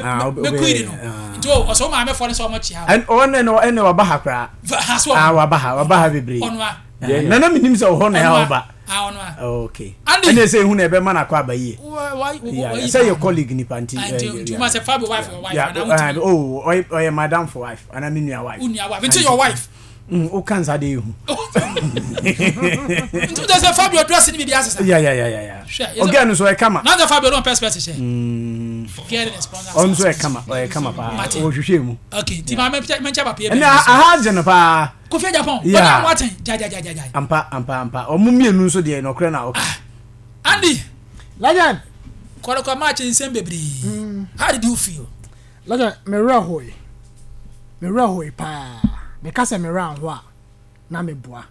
kuiri no nti o ɔsɛ o maame fɔ ne sɛ ɔmo kyia wo ɔno ɛna ɛna waba ha koraa ha so ah waba ha waba ha bebree ɔno a na na menim sɛ ɔhɔ na ɛha ɔba ah ɔno a okay ɛna ɛsɛ ehu na ɛbɛma no akɔ aba yie sɛ yɛ colleague nipa nti nti ma sɛ Fabio wife yɛ wife ana wotumi oh ɔyɛ madam for wife ana me nua wife wo nua wife nti your wife Mm, o kan sa de ehu. Nti o sɛ Fabio dress ni bibi asesa. Ya ya ya ya ya. Ɔgɛ no so ɛ kama. N'asɛ Fabio don pɛsipɛsi hyɛ. Gɛri ne sponsor. Ɔno so ɛ kama ɔyɛ kama paa. Ɔhwehwɛ mu. Okay, ti maa mɛ nkyɛn ba pie. Ɛnna aha agye no paa. Kofi Japan. Yeah. Ɔnyɛ waten ja ja ja ja ja. Ampa ampa ampa. Ɔmo mmienu nso deɛ nɔkorɛ na ɔka. Andy. Legend. Kɔrɔkɔ match nsɛm bebree. How did you feel? Lagya, me werɛ hoe. Me werɛ hoe paa. Meka sɛ me werɛ anho a, na meboa.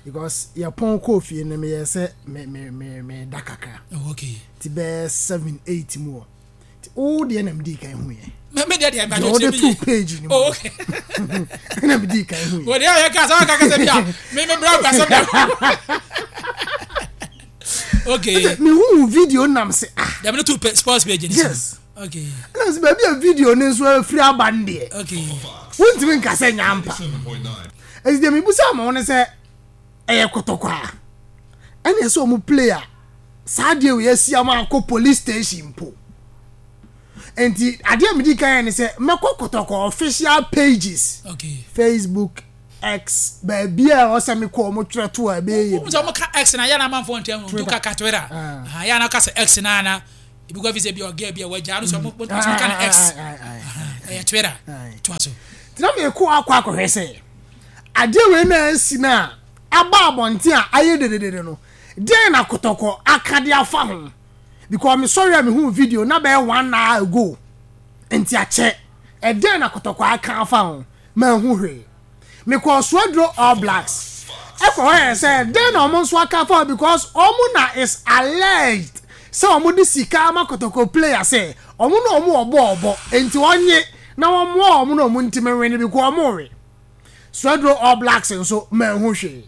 Because yɛpɔn kɔɔ fie no, meyɛɛ sɛ me me me meda kakra. Oh, okay. Nti bɛyɛ 7, 8 mu hɔ. Nti wo deɛ na medii kan huiɛ. Me me deɛ deɛ Deɛ wode too page no mu. Oh, okay. Na medii kan huiɛ. Wo deɛ yɛ kasa kasa bi a, me me bra kasa bi. Okay. Mehu video nam se ah. Deɛ me to sports page ni. Yes. Okay. Ɛna sɛ baabi a video no nso afiri aba no deɛ. Okay. Wontumi nka sɛ nya ampa. Ɛsi deɛ mebusa ama wo ne sɛ ɛyɛ kɔtɔkɔ a ɛna ɛsɛ ɔmo play a. saa adeɛ wei asi ama akɔ police station mpo? Nti adeɛ a medi kan yɛ ne sɛ mɛkɔ Kɔtɔkɔ official pages, okay. Facebook, X, baabi a ɛwɔ sɛ mekɔ ɔmo twerɛ to a ɛbɛyɛ yɛ bi. Sɛ ɔmo ka X na yɛ na amanfoɔ ntɛm no ntu kaka Twitter. Ah. Yɛ na ka sɛ X na na ebi kɔ fi sɛ bi ɔgɛ bi a wagya no sɛ ɔmo ɔmo ka no X. Ɛyɛ Twitter. To aso. Tena mekɔ akɔ akɔhwɛ sɛ adeɛ wei na asi no a aba abɔnten a ayɛ dededede no, deɛn na Kotɔkɔ aka de afa ho? Because me sɔre a mehuu video na bɛyɛ one hour ago, nti akyɛ. Ɛdeɛn na Kotɔkɔ aka afa ho? Manhu hwee. Mekɔɔ Suaduro All Blacks ɛkɔhwɛɛ sɛ dɛn na wɔn nso aka afa ho because wɔn na is alleged sɛ wɔn de sika ama Kotoko player sɛ wɔn na wɔn wɔ bɔɔl bɔ nti wɔnye na wɔmmoa wɔn na wɔn ntumi nwene because wɔn we. Swedro All Blacks nso manhu hwee.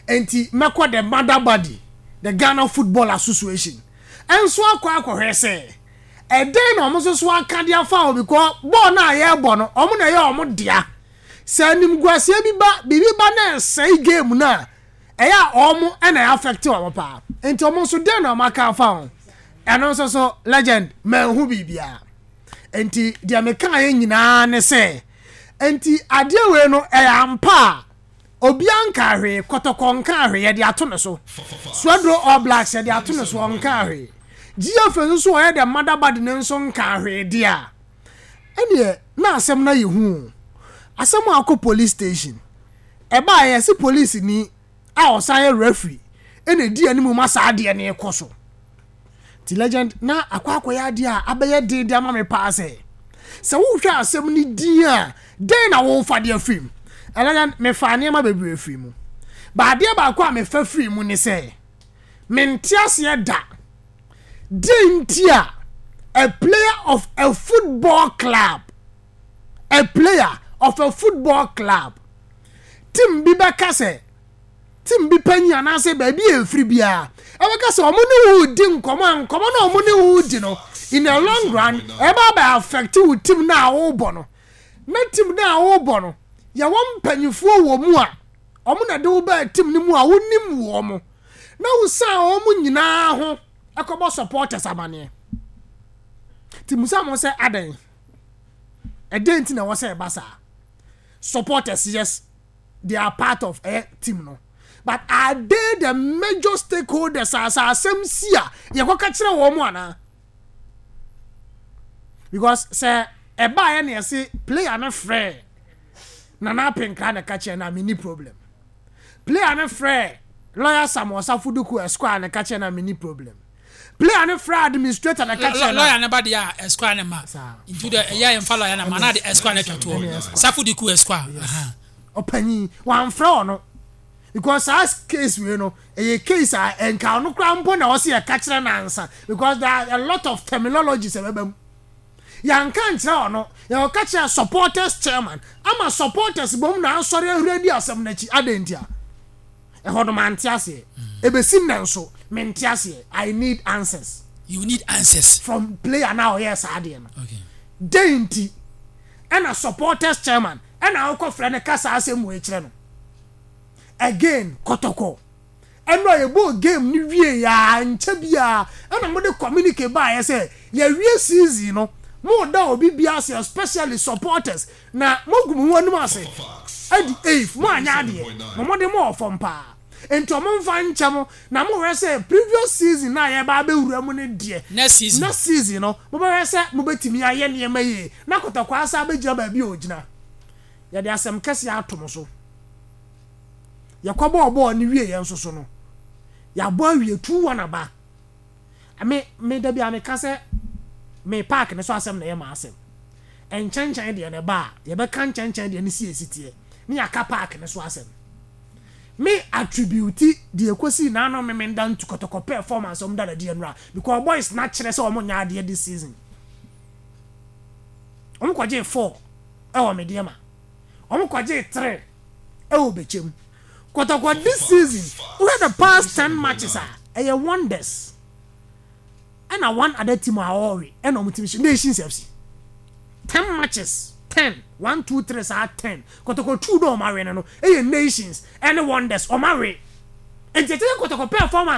Enti mɛkɔ the mother body, the Ghana Football Association nso akɔ akɔhwɛ sɛ ɛdɛn na wɔn nso so aka de afa ho because bɔɔl no a yɛrebɔ no wɔn na ɛyɛ wɔn dea. Sɛ animguaseɛ bi ba, biribi ba na ɛsɛe game no a, ɛyɛ a wɔn na ɛyɛ affect wɔn paa. Enti wɔn nso dɛn na wɔn aka afa ho? Ɛno nso so legend manhu biribiara. Enti deɛ mekaeɛ nyinaa ne sɛ Enti adeɛ wei no ɛyɛ ampa a obiara nkaa hwee, Kɔtɔkɔ nkaa hwee, yɛde ato ne so. Swedro All Blacks yɛde ato ne so, ɔnkaa hwee. GFA nso so ɔyɛ the mother body no nso nkaa hwee deɛ a, ɛneɛ na asɛm no ayɛ hu o. Asɛm a akɔ police station, ɛbaeɛ yɛse polisini a ɔsan yɛ referee ɛna ɛdi anim ma saa adeɛ no rekɔ so. Nti legend na akɔ akɔyɛ adeɛ a abɛyɛ den de ama me paa sɛ sɛ wohwɛ asɛm no din a dɛn na wofa de afiri mu. Legend mefaa nneɛma bebree firi mu. Ba adeɛ baako a mefa firi mu ne sɛ mente aseɛ da deɛ nti a a player of a football club a player of a football club team bi bɛka sɛ team bi panyin anaasɛ baabi a efiri biara ɛbɛka sɛ wɔn ne wo di nkɔmɔ a nkɔmɔ na wɔn ne wo di no in the long run ɛbɛ abɛ affect wo team na a wɔrebɔ no na team na a wɔrebɔ no yɛwɔ mpanyinfoɔ wɔ mu a wɔn na de wo baa team no mu a wonim wɔn na wosan wɔn nyinaa ho ɛkɔbɔ supporters amaneɛ ti musa mo sɛ adɛn ɛdɛn ti na ɛwɔ sɛ ɛba saa supporters yes they are part of ɛyɛ team no but are they the major stakeholders a sɛ asɛm si a yɛkɔka kyerɛ wɔn mu anaa because sɛ ɛbaeɛ na yɛse player no frɛ Nana Apenkra na ɛka kyerɛ no a menni problem player no frɛ lawyer Sam Osafo Duku Esquire na ɛka kyerɛ no a menni problem player no frɛ administrator na ɛka kyerɛ no lawyer no ba deɛ a Esquire no ma nti dɛ ɛyɛ yɛmfa lawyer no ma na de Esquire no atwa toɔ Safo Duku Esquire ɔpanyin wamfrɛ ɔno because saa case wei no ɛyɛ case a nka ɔno koraa mpo na ɔsi ɛka kyerɛ no ansa because there are a lot of terminologies ɛbɛba mu yɛnka nkyerɛ ɔno yɛkɔka kyerɛ supporters chairman ama supporters bom na asɔre ahuri adi asɛm no akyi adɛn nti a ɛhɔ no mante aseɛ ɛbɛsi nnɛ nso mente aseɛ. I need answers. You need answers. From player na ɔyɛ saa adeɛ no. Okay. Dɛn nti ɛna supporters chairman ɛna awokɔ frɛ no ka saa asɛm wei kyerɛ no. Again kɔtɔkɔ ɛno a yɛbɔɔ game no wie yaa nkyɛ biara ɛna mode communique baayɛ sɛ yɛwie season no mo da obi bi ase especially supporters na moagu mo ho anim ase adi eif mo anyɛ adeɛ mo mode mo wɔ fam paa nti ɔmo mfa nkyɛ mo na mo hwɛ sɛ previous season na yɛba abɛwura mu no deɛ next season next season no mobɛhwɛ sɛ mobɛtumi ayɛ nneɛma yie na kɔtɔkɔ asa abɛgyina baabi a ɔgyina. Yɛde asɛm kɛseɛ ato mo so. Yɛkɔbɔɔ bɔɔl no wieeɛ nso so no, yɛabɔ awie 2-1 aba. Me, me da bi a meka sɛ me park no so asɛm na ɛyɛ m'asɛm. Nkyɛnkyɛn deɛ no ɛba a, yɛbɛka nkyɛnkyɛn deɛ no si esi teɛ, ne yɛaka park no so asɛm. Me attribute deɛ ɛkɔsii n'ano Memenda ntu kɔtɔkɔ performance a wɔn da no adi nnora because boys no akyerɛ sɛ wɔn nyɛ adeɛ this season. Wɔn kɔgyee 4 ɛwɔ Medeama. Wɔn kɔgyee 3 ɛwɔ Bɛkyɛm. Kɔtɔkɔ this season, wohwɛ the past 10 matches a, ɛyɛ wonders. Ɛna one other team a ɔɔwe ɛna wɔn team hyɛ Nations FC. 10 matches, 10, 1, 2, 3 saa 10. Kɔtɔkɔ 2 na wɔn awe no no, ɛyɛ Nations ɛne Wonders wɔn awe. Nti ɛkyɛ sɛ kɔtɔkɔ performance.